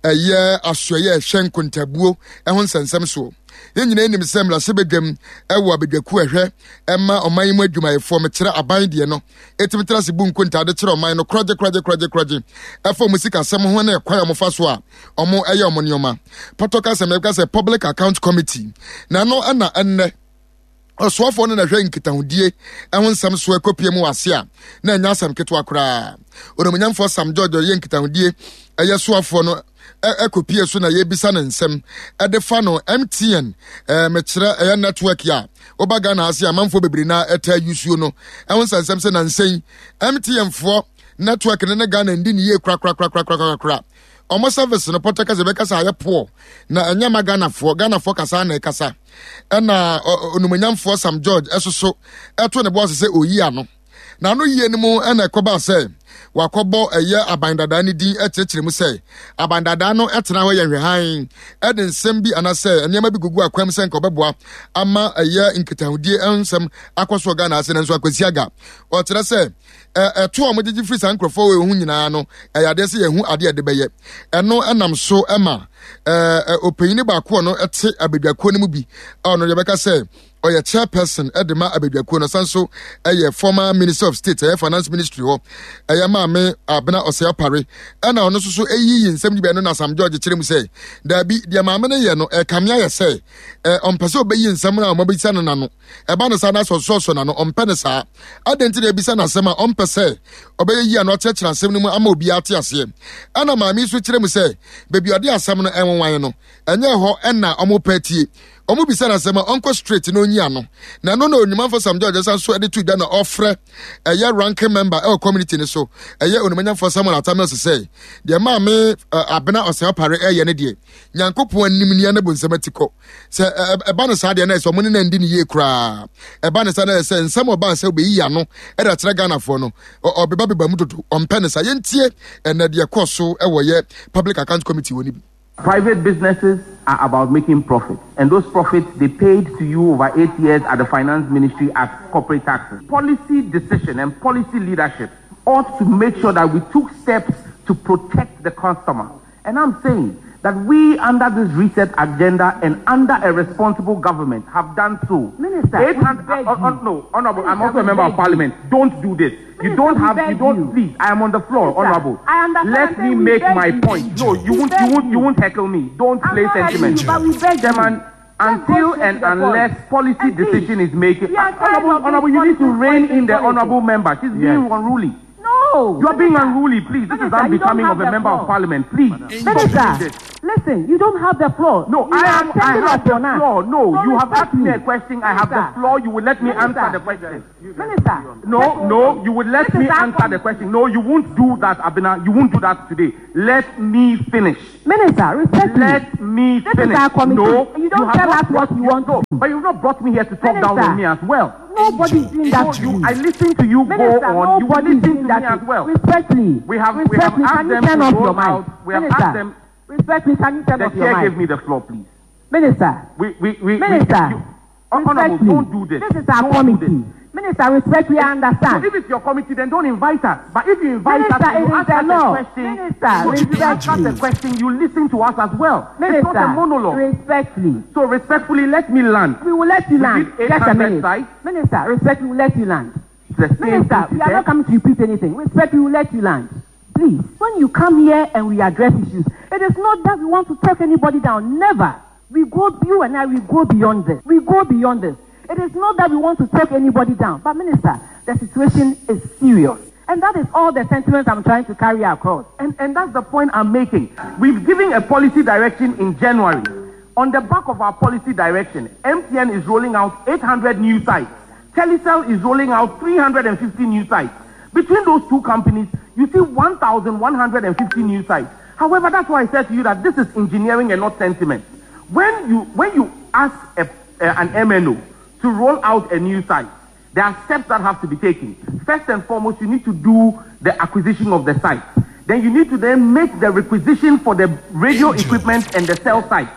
ɛyɛ asoɛyɛ ɛhwɛ nkontabuo ho nsɛnsɛm soɔ. Yɛn nyinaa nim sɛ mmarahyɛbadwam ɛwɔ abadwakuo ɛhwɛ ɛma ɔman yi mu adwumayɛfoɔ, mekyerɛ aban deɛ no, ɛtumi tra ase bu nkontaa de kyerɛ ɔman no korɔgye korɔgye korɔgye korɔgye ɛfa wɔn sikasɛm ho ne ɛkwan a wɔfa so a wɔn ɛyɛ wɔn nneɛma. Pɔtɔ kasa mu yɛbɛka sɛ Public Account Committee na ɛno ɛna ɛnnɛ ɔsoafoɔ no na ɛhwɛ nkitahodie ɛho nsɛm so ɛkɔpie mu wɔ ase a na ɛnyɛ asɛm ketewa koraa. Onimuonyamfoɔ Sam George ɔyɛ nkitahodie ɛyɛ soafoɔ no ɛkɔpie so na yɛbisa no nsɛm ɛde fa no MTN ɛɛ mekyerɛ ɛyɛ network a woba Ghana ase amanfoɔ bebree na ɛtaa yusuo no ɛho nsɛnsɛm sɛ nansɛn MTN foɔ network no ne Ghana ndi ne yie korakorakorakorakorakora. Ɔmo service no pɔtɛ kasa bɛkasa ayɛ poɔ na ɛnyɛ ma Ghanafoɔ. Ghanafoɔ kasa na ɛkasa. Ɛna onumonyamfoɔ Sam George ɛsoso ɛto ne bo ase sɛ oyi ano. Na ano yie no mu ɛna ɛkɔbaa sɛ wakɔbɔ ɛyɛ aban dadaa no din ɛkyerɛkyerɛ mu sɛ aban dadaa no ɛtena hɔ yɛ nhwɛhan ɛde nsɛm bi anasɛ nneɛma bi gugu akwam sɛ nka ɔbɛboa ama ɛyɛ nkitahodie nsɛm akɔ soɔ Ghana ase nanso Akwasi Aga ɔkyerɛ sɛ ɛto a wɔgyegye firi saa nkurɔfoɔ wɔ ho nyinaa no ɛyɛ adeɛ sɛ yɛhu adeɛ ɛde bɛyɛ ɛno ɛnam so ɛma ɔpanyini baako ɔno ɛte abadwakuo no mu bi a ɔno yɛbɛka sɛ ɔyɛ chairperson ɛde ma abadwakuo no san so ɛyɛ former minister of state ɛyɛ finance ministry hɔ ɛyɛ maame Abena Ɔsɛe Apare ɛna ɔno nso so ɛyiyi nsɛm no bi ɛno na Sam George kyerɛ mu sɛ daabi deɛ maame no yɛ no ɛkame ayɛ sɛ ɔmpɛ sɛ ɔbɛyi nsɛm no a ɔmabɛsa no n'ano ɛba no saa na sɛ ɔsosɔsosɔ n'ano ɔmpɛ no saa adɛn nti na ebisa no asɛm a ɔmpɛ sɛ ɔbɛyɛ yi ano akyerɛkyerɛ asɛm no mu ama obiara ate aseɛ ɛna maame yi nso kyerɛ mu sɛ baabi ɔde asɛm no ɛnwanwan no ɛnyɛ hɔ ɛna ɔmo pɛ tie ɔmo bisa no asɛm a ɔnkɔ straight na onyi ano na ɛno na onimamfo Sam George san so ɛde to dwa na ɔfrɛ ɛyɛ ranking member ɛwɔ community no so ɛyɛ onimanyamfo Samuel Atta Mills sɛ deɛ maame Abena Ɔsɛe Ɔpare ɛyɛ ne deɛ Nyankopɔn anim nia ne bonsam atikɔ sɛ ɛba no saa deɛ na ɛsɛ ɔmo ne na ndi ne yie koraa ɛba no saa na ɛsɛ nsɛm ɔbaa sɛ ɔbɛyi ano ɛde akyerɛ Ghanafoɔ no ɔbeba beba mu dodo ɔmpɛ no saa yɛntie ɛnɛ deɛ kɔɔ so ɛwɔ yɛ Public Account Committee wɔ no bi. Private businesses are about making profits, and those profits they paid to you over eight years at the finance ministry as corporate taxes. Policy decision and policy leadership ought to make sure that we took steps to protect the customer. And I'm saying that we, under this reset agenda and under a responsible government, have done so. Minister, 800, no, Honorable, I'm also a member of parliament. You. Don't do this. Minister, you don't have, you don't, you. please, I am on the floor, Minister, Honorable. I understand. Let me make my you. point. No, you won't, you won't, you won't heckle me. Don't I'm play sentiment. You, but we beg Chairman, you. Until and unless policy and decision is made, Honorable, Honorable, you need to rein in the honorable member. She's yes. being unruly. No. You are being unruly, please. This Minister, is unbecoming of a member of parliament. Please. Minister, listen, you don't have the floor. No, you I am. I have the floor. No, so you have asked me me a question. I have the floor. You will let me Minister. answer the question. Minister. No, no, you would let This me is our answer the question. No, you won't do that, Abena. You won't do that today. Let me finish. Minister, respect me. Let me This finish. is our committee. No, You don't have tell not us what brought you want No, to do. but you've not brought me here to talk down Minister. on me as well. Nobody's doing that No, to you, you. I listen to you Minister, go on. You will nobody's listen doing to that me as to well. Respectfully. We have, we have Respectfully, asked can you them turn to off your roll mic? out. We have Minister, asked them. respectfully, can you turn The off your chair mic? gave me the floor, please. Minister, We, Minister, we, you, Honorable, respectfully, don't do this. This is our Don't do committee. this. Minister, respectfully, I understand. So if it's your committee, then don't invite us. But if you invite Minister, us, and it you is ask the us law. a question. Minister, so if you ask us a respectfully. question, you listen to us as well. Minister, it's not a monologue. respectfully. So respectfully, let me land. We will let you We land. did Just a 800 minute. sites. Minister, respectfully, we will let you land. The same Minister, thing we are today. not coming to repeat anything. Respectfully, we will let you land. Please, when you come here and we address issues, it is not that we want to talk anybody down. Never. We go, you and I, we go beyond this. We go beyond this. It is not that we want to talk anybody down. But, Minister, the situation is serious. And that is all the sentiments I'm trying to carry across. And, and that's the point I'm making. We've given a policy direction in January. On the back of our policy direction, MTN is rolling out 800 new sites. Telecel is rolling out 350 new sites. Between those two companies, you see 1,150 new sites. However, that's why I said to you that this is engineering and not sentiment. When you, when you ask a, a, an MNO to roll out a new site, there are steps that have to be taken. First and foremost, you need to do the acquisition of the site. Then you need to then make the requisition for the radio equipment and the cell site.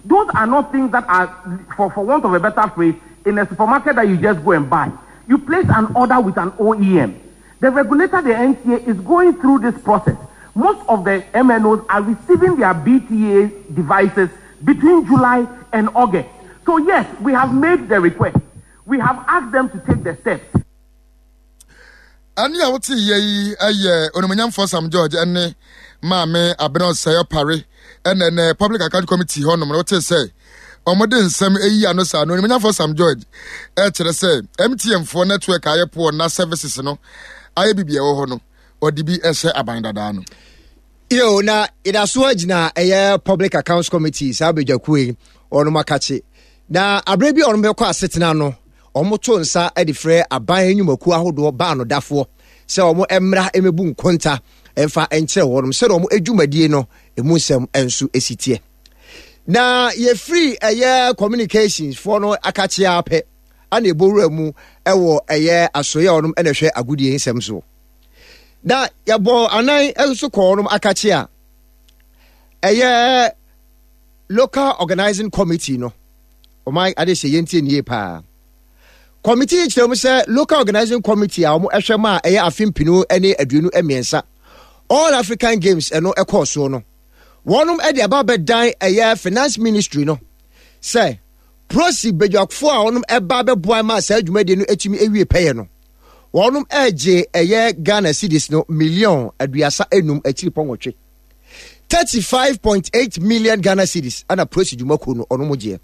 Those are not things that are, for, for want of a better phrase, in a supermarket that you just go and buy. You place an order with an OEM. The regulator, the NTA, is going through this process. Most of the MNOs are receiving their BTA devices between July and August. So yes, we have made the request. We have asked them to take the steps. Ɛnne a wote yɛ yi yɛ Onimuonyamfoɔ Sam George ne Maame Abena Osei Opare ɛna ɛnɛ Public Account Committee hɔnom no wote sɛ wɔde nsɛm eyi ano saa no Onimuonyamfoɔ Sam George ɛkyerɛ sɛ MTN foɔ network ayɛ poɔ na services no ayɛ bibi ɛwɔ hɔ no ɔde bi ɛhyɛ aban dadaa no. Yo, na yɛda so agyina ɛyɛ Public Accounts Committee saa badwakuo yi wɔnom akakye na aberɛ bi a wɔnom bɛkɔ asetena no wɔto nsa de frɛ aban nnwumakuo ahodoɔ baanodafoɔ sɛ wɔn mmra mmɛbu nkonta mfa nkyerɛ wɔnom sɛdeɛ wɔn adwumadie no emu nsɛm nso si teɛ. Na yɛfiri ɛyɛ communications foɔ no akakyea pɛ ana ɛbɔ wura mu ɛwɔ ɛyɛ asoeɛ a wɔnom ɛna ɛhwɛ agodie nsɛm so. Na yɛbɔ anan nso kɔɔ wɔnom akakyea ɛyɛ local organizing committee no Ɔman adehye yɛntie no yie paa. Committee yi kyerɛ mu sɛ Local Organizing Committee a wɔn ɛhwɛ ma a ɛyɛ afe mpenu ne 23 All African Games ɛno ɛkɔɔ soɔ no, wɔnom ɛde aba abɛdan ɛyɛ Finance Ministry no sɛ Prosi badwafoɔ a wɔnom ɛba abɛboa ma saa dwumadie no ɛtumi ɛwie pɛyɛ no, wɔnom ɛgye ɛyɛ Ghana cedis no million 35 akyiri pɔ nwɔtwe. 35.8 million Ghana cedis ana Prosi dwumakuo no ɔno mo gyeɛ.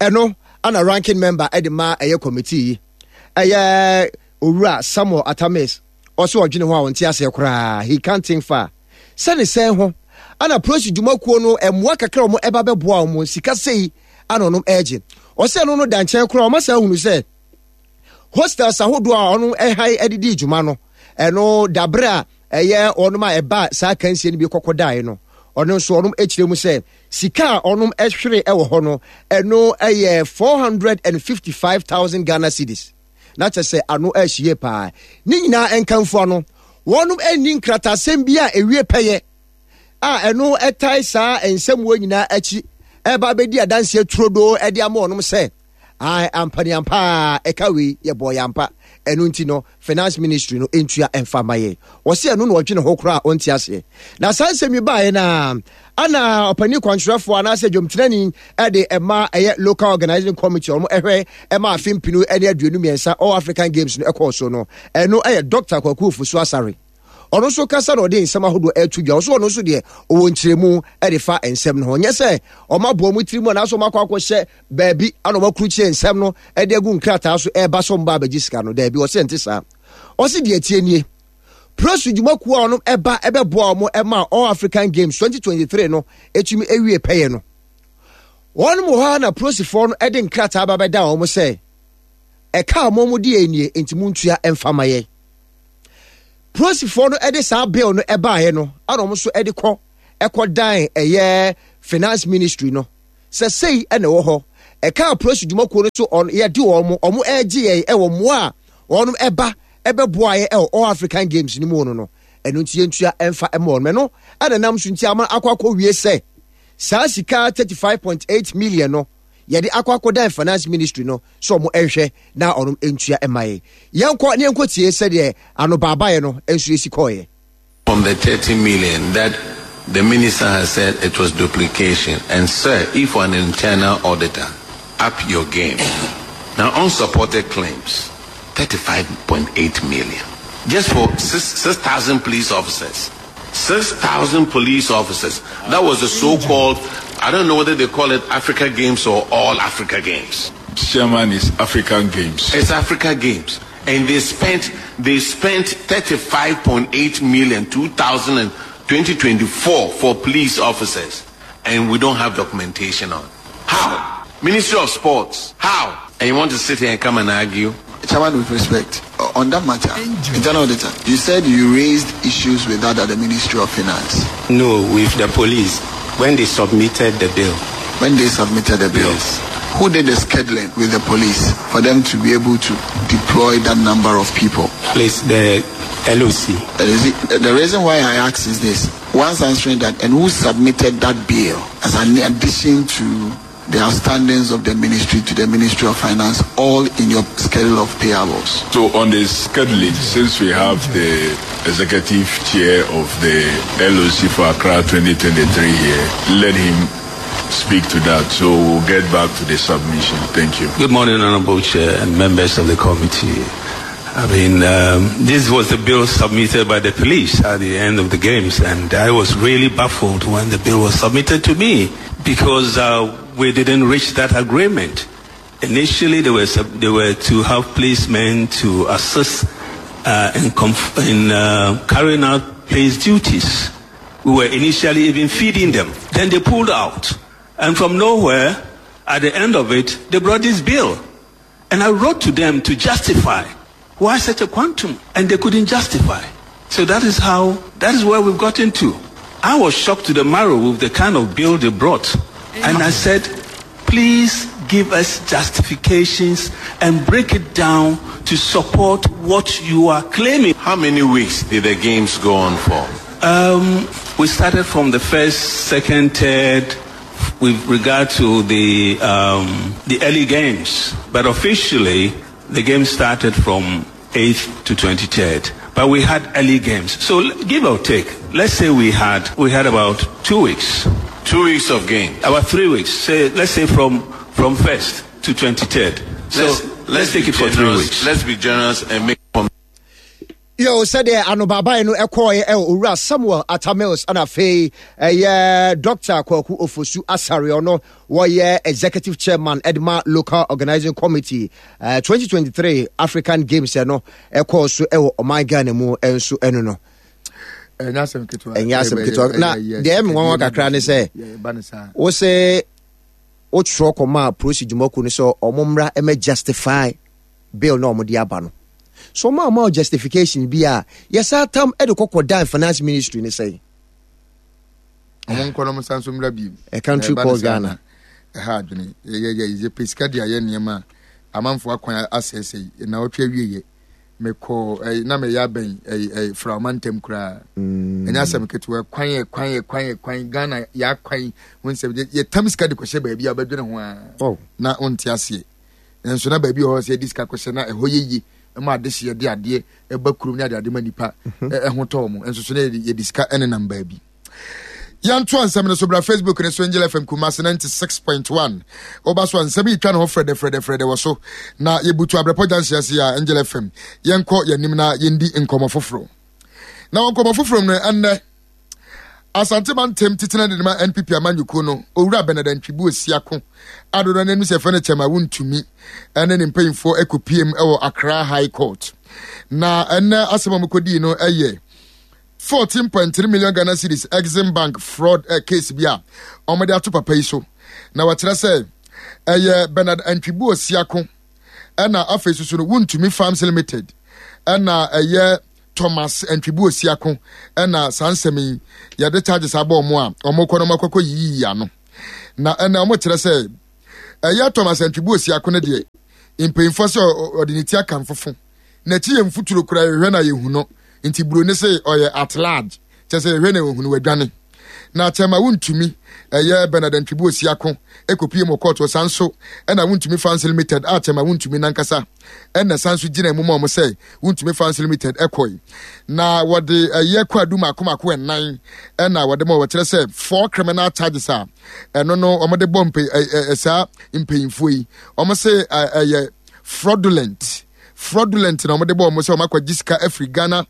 Ɛno ana ranking member ɛde ma ɛyɛ committee yi ɛyɛ owura Samuel Atames ɔsɛ ɔdwene ho a ɔnte aseɛ koraa, he can't think far. Sɛ ne sɛn ho ana Prosi dwumakuo no mmoa kakra wɔn ɛba bɛboa wɔn sika sei ana ɔnom ɛgye. Ɔsɛ ɛno no da nkyɛn koraa ɔma saa hunu sɛ hostels ahodoɔ a ɔno ɛhan ɛde di dwuma no ɛno dabrɛ a ɛyɛ wɔnom a ɛbaa saa akansie no bi kɔkɔ daeɛ no, ɔno nso ɔnom kyerɛ mu sɛ sika a ɔnom hwere wɔ hɔ no, ɛno yɛ 455,000 Ghana cedis. Na kyɛ sɛ ano ahyi yie paa. Ne nyinaa nkamfua no, wɔnom nni nkratasɛm bi a ɛwie pɛyɛ a ɛno ɛtae saa nsɛmmoa nyinaa akyi ɛba bɛdi adanseɛ turodoo ɛde ama wɔnom sɛ Ae, ampa ni ampa ara, ɛka wei, yɛbɔɔ yɛ ampa. Ɛno nti no, Finance Ministry no ntua mfa mma yɛn. Wɔse ɛno na ɔdwene ho koraa a ɔnte aseɛ. Na saa nsɛm yi baeɛ no ara, ana ɔpanin kwankyerɛfoɔ anaasɛ dwomtenani de ɛma ɛyɛ Local Organizing Committee wɔn ɛhwɛ ɛma afe mpenu ne 23 All African Games no ɛkɔɔ so no, ɛno ɛyɛ Dr. Kwaku Ofosu Asare. Ɔno nso kasa na ɔde nsɛm ahodoɔ ɛreto dwa. Ɔso ɔno nso deɛ ɔwɔ nkyerɛmu de fa nsɛm no ho. Nyɛ sɛ ɔma boɔ mu tiri mu anaasɛ ɔma akɔ akɔhyɛ baabi ana ɔma kurukyerɛ nsɛm no de agu nkrataa so ɛreba sɛ ɔmba abɛgye sika no. Daabi, ɔsɛ nte saa. Ɔse deɛ ɛteɛ nie. Prosu dwumakuo a ɔnom ɛba ɛbɛboa wɔn ɛma All African Games 2023 no ɛtumi ɛwie pɛyɛ no. Wɔnom wɔ hɔ a na prosifoɔ no ɛde nkrataa ba bɛda wɔn sɛ ɛka a wɔn de yɛ nie nti montua ɛmfa ma yɛn. Polisifoɔ no de saa bill no baeɛ no ana wɔn nso de kɔ ɛkɔ dan ɛyɛ finance ministry no sɛ sei ɛna ɛwɔ hɔ ɛka polisi dwumakuo no so ɔn yɛde wɔn wɔn ɛregye yɛn ɛwɔ mmoa a wɔn ɛba ɛbɛboa yɛ ɛwɔ all African Games no mu no no ɛno nti yɛntua ɛmfa ɛma wɔn ɛno ɛna nam so nti ama akɔ akɔ wie sɛ saa sika 35.8 million no yɛde akɔ akɔdan finance ministry no sɛ ɔmo nhwɛ na ɔnom ntua mma yɛn. Yɛnkɔ na yɛnkɔ tie sɛdeɛ anobaabaeɛ no nso esi kɔeɛ. From the 30 million that the minister has said it was duplication and sir if an internal auditor up your game now unsupported claims 35.8 million just for 6,000 police officers 6,000 police officers that was the so-called I don't know whether they call it Africa Games or All Africa Games. Chairman is African Games. It's Africa Games. And they spent they spent 35.8 million 2024 for police officers and we don't have documentation on. How? Ministry of Sports. How? And you want to sit here and come and argue? Chairman, with respect, on that matter, internal auditor, you said you raised issues with that at the Ministry of Finance. No, with the police when they submitted the bill. When they submitted the bill? Yes. Who did the scheduling with the police for them to be able to deploy that number of people? Please, the LOC. The reason why I ask is this. Once answering that, and who submitted that bill as an addition to the outstandings of the ministry to the Ministry of Finance, all in your schedule of payables? So on the scheduling, since we have the executive chair of the LOC for Accra 2023 here, let him speak to that. So we'll get back to the submission. Thank you. Good morning, Honorable Chair and members of the committee. I mean, um, this was the bill submitted by the police at the end of the games, and I was really baffled when the bill was submitted to me because uh, we didn't reach that agreement. Initially, they were, they were to have policemen to assist uh, in, conf- in uh, carrying out police duties. We were initially even feeding them. Then they pulled out. And from nowhere, at the end of it, they brought this bill. And I wrote to them to justify why such a quantum, and they couldn't justify. So that is how, that is where we've gotten to. I was shocked to the marrow with the kind of bill they brought. And I said, please give us justifications and break it down to support what you are claiming. How many weeks did the games go on for? Um, we started from the first, second, third, with regard to the, um, the early games. But officially, the game started from 8th to 23rd. But we had early games. So give or take, let's say we had, we had about two weeks. Two weeks of game. About three weeks. Say, let's say from, from 1st to 23rd. So let's, let's, let's take it for three weeks. Let's be generous and make Yo, sɛdeɛ anobaabae no ɛkɔɔeɛ ɛwɔ Owura Samuel Atta Mills ɛna afei ɛyɛ Dr. Kwaku Ofosu Asare ɔno wɔyɛ Executive Chairman ɛde ma Local Organizing Committee uh, eh, 2023 African Games ɛno ɛkɔɔ so ɛwɔ ɔman Ghana mu ɛnso ɛno no. Ɛnyɛ asɛm ketewa. Ɛnyɛ asɛm ketewa. Na deɛ ɛmi nwanwa kakra ne sɛ wosɛ wotwerɛ kɔmaa polisi dwumakuo no sɛ ɔmo mmra ɛmɛ justify bill na wɔde aba no so wɔn a wɔn justification bi a yɛsan tam de kɔkɔ dan finance ministry ne sɛn. wɔn nkɔ na wɔn san so mmra bi. A country called Ghana. ɛha adwene yɛ yɛ yɛ pɛ sika de ayɛ nneɛma a amanfo akwan asɛesɛe na ɔtwe awie yɛ mekɔ ɛyi na meyɛ abɛn ɛyi ɛyi firaoma ntɛm koraa mm. ɛnyɛ asɛm ketewa kwan yɛ kwan yɛ kwan yɛ kwan Ghana yɛ akwan ho nsɛm yɛ tam sika de kɔhyɛ baabi a ɔbɛdwene ho ara oh. na ɔnte aseɛ. Nanso na baabi wɔ hɔ sɛ yɛde sika kɔhyɛ na ɛhɔ yɛ yie ma adehyeɛ de adeɛ ɛba kurom ne adeade ma nipa mhm. ɛho tɔ wɔn nso so na yɛde sika ɛnenam baabi. Yɛntoa nsɛm no so bra Facebook ne so Angel FM Kumasi 96.1 woba so a nsɛm yi twa ne ho frɛdɛfrɛdɛfrɛdɛ wɔ so na yɛbutu abrɛpɔ gyanse ase a Angel FM yɛnkɔ yɛnim na yɛndi nkɔmmɔ foforɔ na wɔ nkɔmmɔ foforɔ mu no ɛnnɛ Asante mantam titena de ma NPP amanyɔkuo no, Owura Bernard Antwibu Osiako a dodoɔ no anim sɛ ɛfɛ no kyɛm a wontumi ne ne mpanyinfoɔ kɔpiem wɔ Accra High Court. Na ɛnɛ asɛm a wɔkɔdii no yɛ 14.3 million Ghana cedis Exim Bank fraud eh, case bi a wɔde ato papa yi so. Na wɔkyerɛ sɛ ɛyɛ Bernard Antwibu Osiako ɛna afei soso no wontumi Farms Limited ɛna ɛyɛ Thomas Antwibu Osiako na saa nsɛm yi yɛde charges abɔ wɔn a wɔkɔ no wɔakɔkɔ yiyiyi ano. Na ɛna wɔkyerɛ sɛ ɛyɛ Thomas Antwibu Osiako no deɛ mpanyinfoɔ sɛ ɔde ne ti aka mfofo n'akyi yɛ mfuturo koraa yɛhwɛ na yɛhu no nti buroni se ɔyɛ at large kyɛ sɛ yɛhwɛ na yɛhu no wadwane na kyɛma wontumi ɛyɛ Bernard Antwibu Osiako ɛkɔpie mu kɔɔto san so ɛna wontumi Fans Limited a kyɛma wontumi nankasa ɛna san so gyina mu ma wɔn sɛ wontumi Fans Limited ɛkɔe na wɔde ɛyɛ kwadu mako mako ɛnan ɛna wɔde ma wɔkyerɛ sɛ four criminal charges a ɛno no wɔde bɔ mpe ɛ saa mpanyinfoɔ yi wɔn se ɛyɛ fraudulent fraudulent na wɔde bɔ wɔn sɛ wɔn akɔgye sika afiri Ghana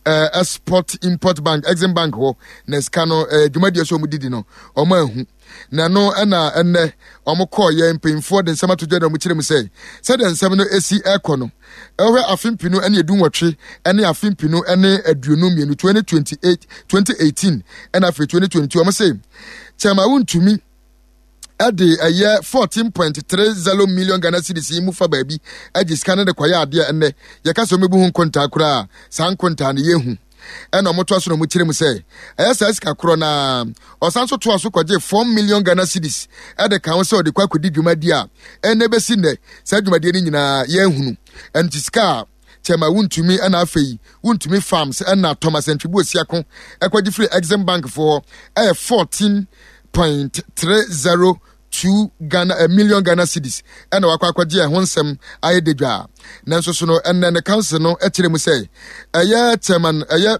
uh, export import bank exim bank hɔ na sika no uh, dwumadie so wɔn didi no wɔn ahu na ɛno ɛna ɛnɛ wɔn kɔɔ yɛ mpanyinfoɔ de nsɛm ato dwa na wɔn kyerɛ mu sɛ sɛdeɛ nsɛm no esi ɛkɔ no ɛhwɛ afe mpinu ɛne edu nwɔtwe ɛne afe mpinu ɛne aduonu mmienu 2028 2018 ɛna afei 2022 wɔn se kyɛnma wontumi ɛde ɛyɛ 14.30 million Ghana cedis yi mu fa baabi agye sika no de kɔyɛ adeɛ ɛnɛ yɛka sɛ wɔbɛbu ho nkontaa koraa saa nkontaa no yɛhu ɛna wɔtoa so na wɔkyerɛ mu sɛ ɛyɛ saa sika korɔ na ɔsan so toa so kɔgye 4 million Ghana cedis ɛde ka ho sɛ ɔde kɔ akɔdi dwumadi a ɛnɛ bɛsi nnɛ saa dwumadie no nyinaa yɛahunu ɛno ti sika a kyɛma wontumi ɛna afei wontumi farms ɛna Thomas Antwibu Osiako ɛkɔgye firi Exim Bank foɔ ɛyɛ 14.302 Ghana a million Ghana cedis ɛna wakɔ akɔgye ɛho nsɛm ayɛ dedwa nanso so no ɛnɛ ne council no ɛkyerɛ mu sɛ ɛyɛ chairman ɛyɛ.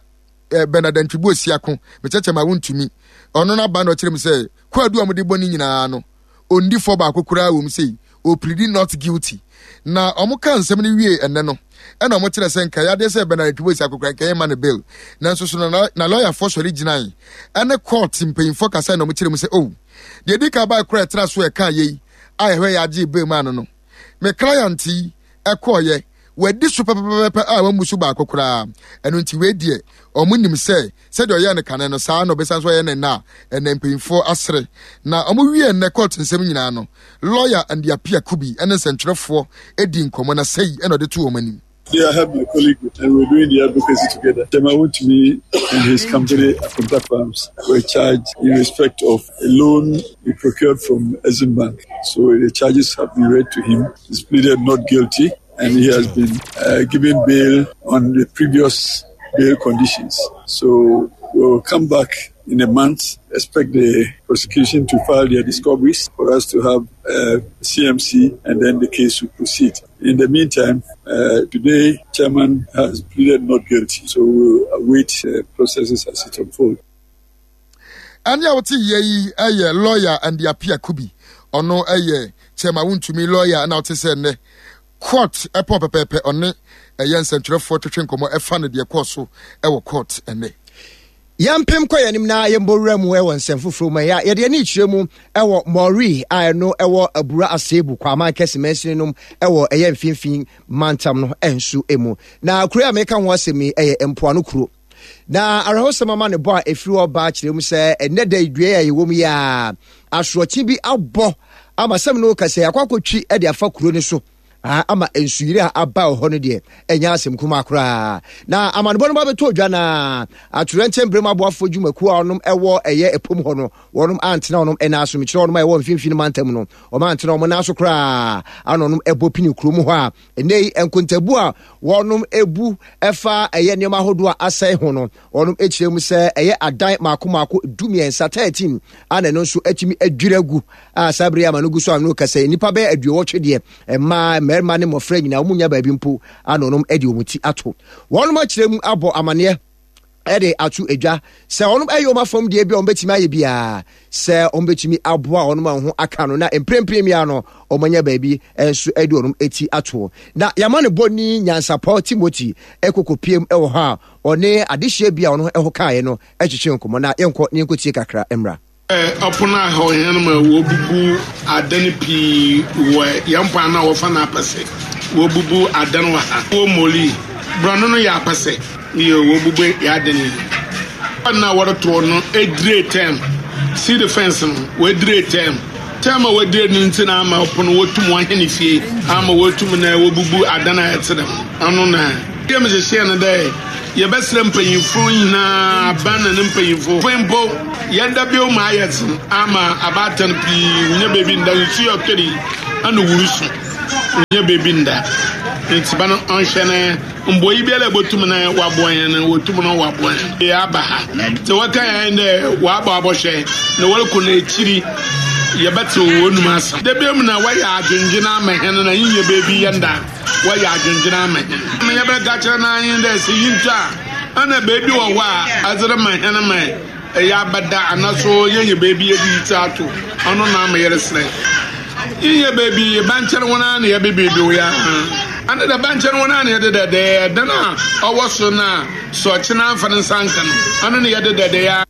eh, Bernard Antwibu Osiako, mekyɛkyɛ ma wontumi. Ɔno no aba na ɔkyerɛ mu sɛ kwaadu a wɔde bɔ ne nyinaa no, ɔndi fɔ baako koraa wɔ mu sei, ɔplidi not guilty. Na wɔn ka nsɛm no wie ɛnɛ no, ɛna wɔn kyerɛ sɛ nka yadeɛ sɛ Bernard Antwibu Osiako koraa nka yɛmma no bail. Nanso so na na lɔyafoɔ sɔre gyinae ɛne court mpanyinfoɔ kasa na wɔn kyerɛ mu sɛ oh, deɛ di kan baa koraa ɛtena so ɛka yei a ɛhwɛ yɛ agye bail maa no no, me client yi ɛkɔɔyɛ wadi so pɛpɛpɛpɛ a wammu so baako koraa. Ɛno nti wei deɛ wɔn nim sɛ sɛdeɛ ɔyɛɛ no kane no saa na ɔbɛsan so ayɛ no nnɛ a ɛnɛ mpanyinfoɔ asere. Na wɔn wie nnɛ court nsɛm nyinaa no, lawyer Andy Appiah Kubi ne nsɛntwerɛfoɔ di nkɔmmɔ na sɛi na ɔde to wɔn anim. Today I have my colleague and we're doing the advocacy together. Chairman Wontumi and his company Akonta Farms were charged in respect of a loan he procured from Exim Bank. So the charges have been read to him. He's pleaded not guilty and he has been uh, given bail on the previous bail conditions. So we'll come back in a month, expect the prosecution to file their discoveries for us to have uh, CMC and then the case will proceed. In the meantime, uh, today, chairman has pleaded not guilty, so we'll await uh, processes as it unfolds. Ɛne a wote yɛ yi yɛ lawyer Andy Appiah Kubi. Ɔno yɛ chairman wontumi lawyer na wote sɛ nnɛ court ɛpɔn pɛpɛɛpɛ ɔne ɛyɛ nsɛntwerɛfoɔ twetwe nkɔmmɔ ɛfa no deɛ kɔɔ so ɛwɔ court ɛnnɛ. Yɛmpem kɔ yɛn anim na yɛmbɔ wura mu wɔ nsɛm foforɔ mu. Ɛyɛ yɛde ani kyerɛ mu wɔ Mɔri a ɛno wɔ Abura Asebu Kwaman Kɛse mansini nom wɔ ɛyɛ mfimfini mantam no nso mu. Na kuro a meka ho asɛm yi ɛyɛ mpoano kuro. Na awerɛhosɛm ama ne bɔ a ɛfiri hɔ ba kyerɛ mu sɛ ɛnnɛ da dua a yɛwɔ mu yi a asorɔkye bi abɔ ama sɛm no kasa akɔ akɔtwi de afa kuro no so ama nsuyiri a aba wɔ hɔ no deɛ ɛnyɛ asɛm kumaa koraa na amanebɔ no ba bɛtɔ dwa na atoyerɛnkyɛm berɛ mu aboafoɔ dwumakuo a wɔnom ɛwɔ ɛyɛ ɛpom hɔ no wɔnom antena wɔnom ɛna so mekyerɛ wɔnom a ɛwɔ mfimfini mantam no wɔn antena wɔn nan so koraa ana wɔnom ɛbɔ pini kurom hɔ a ɛnɛ yi nkontabu a wɔnom ebu ɛfa ɛyɛ nneɛma ahodoɔ a asɛe ho no wɔnom ekyerɛ mu sɛ ɛyɛ adan mako mako 13 13 ana ɛno nso atumi adwiri agu a saa bere yi ama no gu so a no kasa yi nnipa bɛyɛ aduowɔtwe deɛ mmaa mmarima ne mmɔfra nyinaa wɔn nya baabi mpo ano nom de wɔn ti ato wɔn akyerɛ mu abɔ amaneɛ ɛde ato adwa sɛ wɔn ɛyɛ wɔn afam deɛ bi a wɔn bɛtumi ayɛ biara sɛ wɔn bɛtumi aboa wɔn a wɔn ho aka no na mprempren mia no wɔn anya baabi nso ɛde wɔn ti ato na yɛama no bɔ ni nyansapɔ Timothy ɛkoko piem ɛwɔ hɔ a ɔne adehyeɛ bi a wɔn ɛho kaeɛ no ɛtwetwe nkɔmɔ na yɛnkɔ ne yɛnkɔ tie kakra mmra. Ɔpon a hɔ hɛn ma wobubu adan pii wɔ hɛn kwan no a wɔfa no apɛsɛ. Wobubu adan wɔ ha. Wɔ Moli, borɔno no yɛ apɛsɛ. Nyew, wobubu hɛn adan yi. Kwan no a wɔrotow no edire term. Seed fence no, woedire term. Term a woedire no ntsi na ama ɔpon wotum wɔhɛn fie ama woetum na wobubu adan a ɛtse dɛm. Ɔno na yɛmhyehyɛɛ no dɛ yɛbɛserɛ mpanyimfo nyina, aban na ne mpanyimfo mpo. Yɛn da bio ma ayɛ dzen ama abaatan pii wonnya beebi nnda, nsu yɛ ɔtɔ yi ana wurusu wonnya beebi nnda. Ntsi ba no ɔnhwɛ na mboa biara a ebotum na wɔaboa hɛn no wotum na wɔaboa hɛn. Yɛaba ha dze wɔka hɛn dɛ wɔaba abɔhwɛ na wɔrokɔ n'ekyir yɛbɛtsew hɔn mu asɛm. Da bio mu na wɔyɛ adwendwen ama hɛn na yenya beebi yɛnda, wɔyɛ adwendwen ama hɛn. Ma yɛbɛka kyerɛ no ara nye dɛ sɛ yenntu a ana beebi wɔ hɔ a adze rema hɛn ma Ɛyɛ abada anaso yɛnyɛ baabi yɛde yi ti ato ɔno na ama yɛresrɛ yɛnyɛ baabi yɛba nkyɛn wɔn ara na yɛbebebew yɛ ana da ba nkyɛn wɔn ara na yɛde dɛdɛ ɛdan a ɔwɔ so no a sɛ ɔkyena amfa ne nsa nka no ɔno na yɛde dɛdɛ yɛ.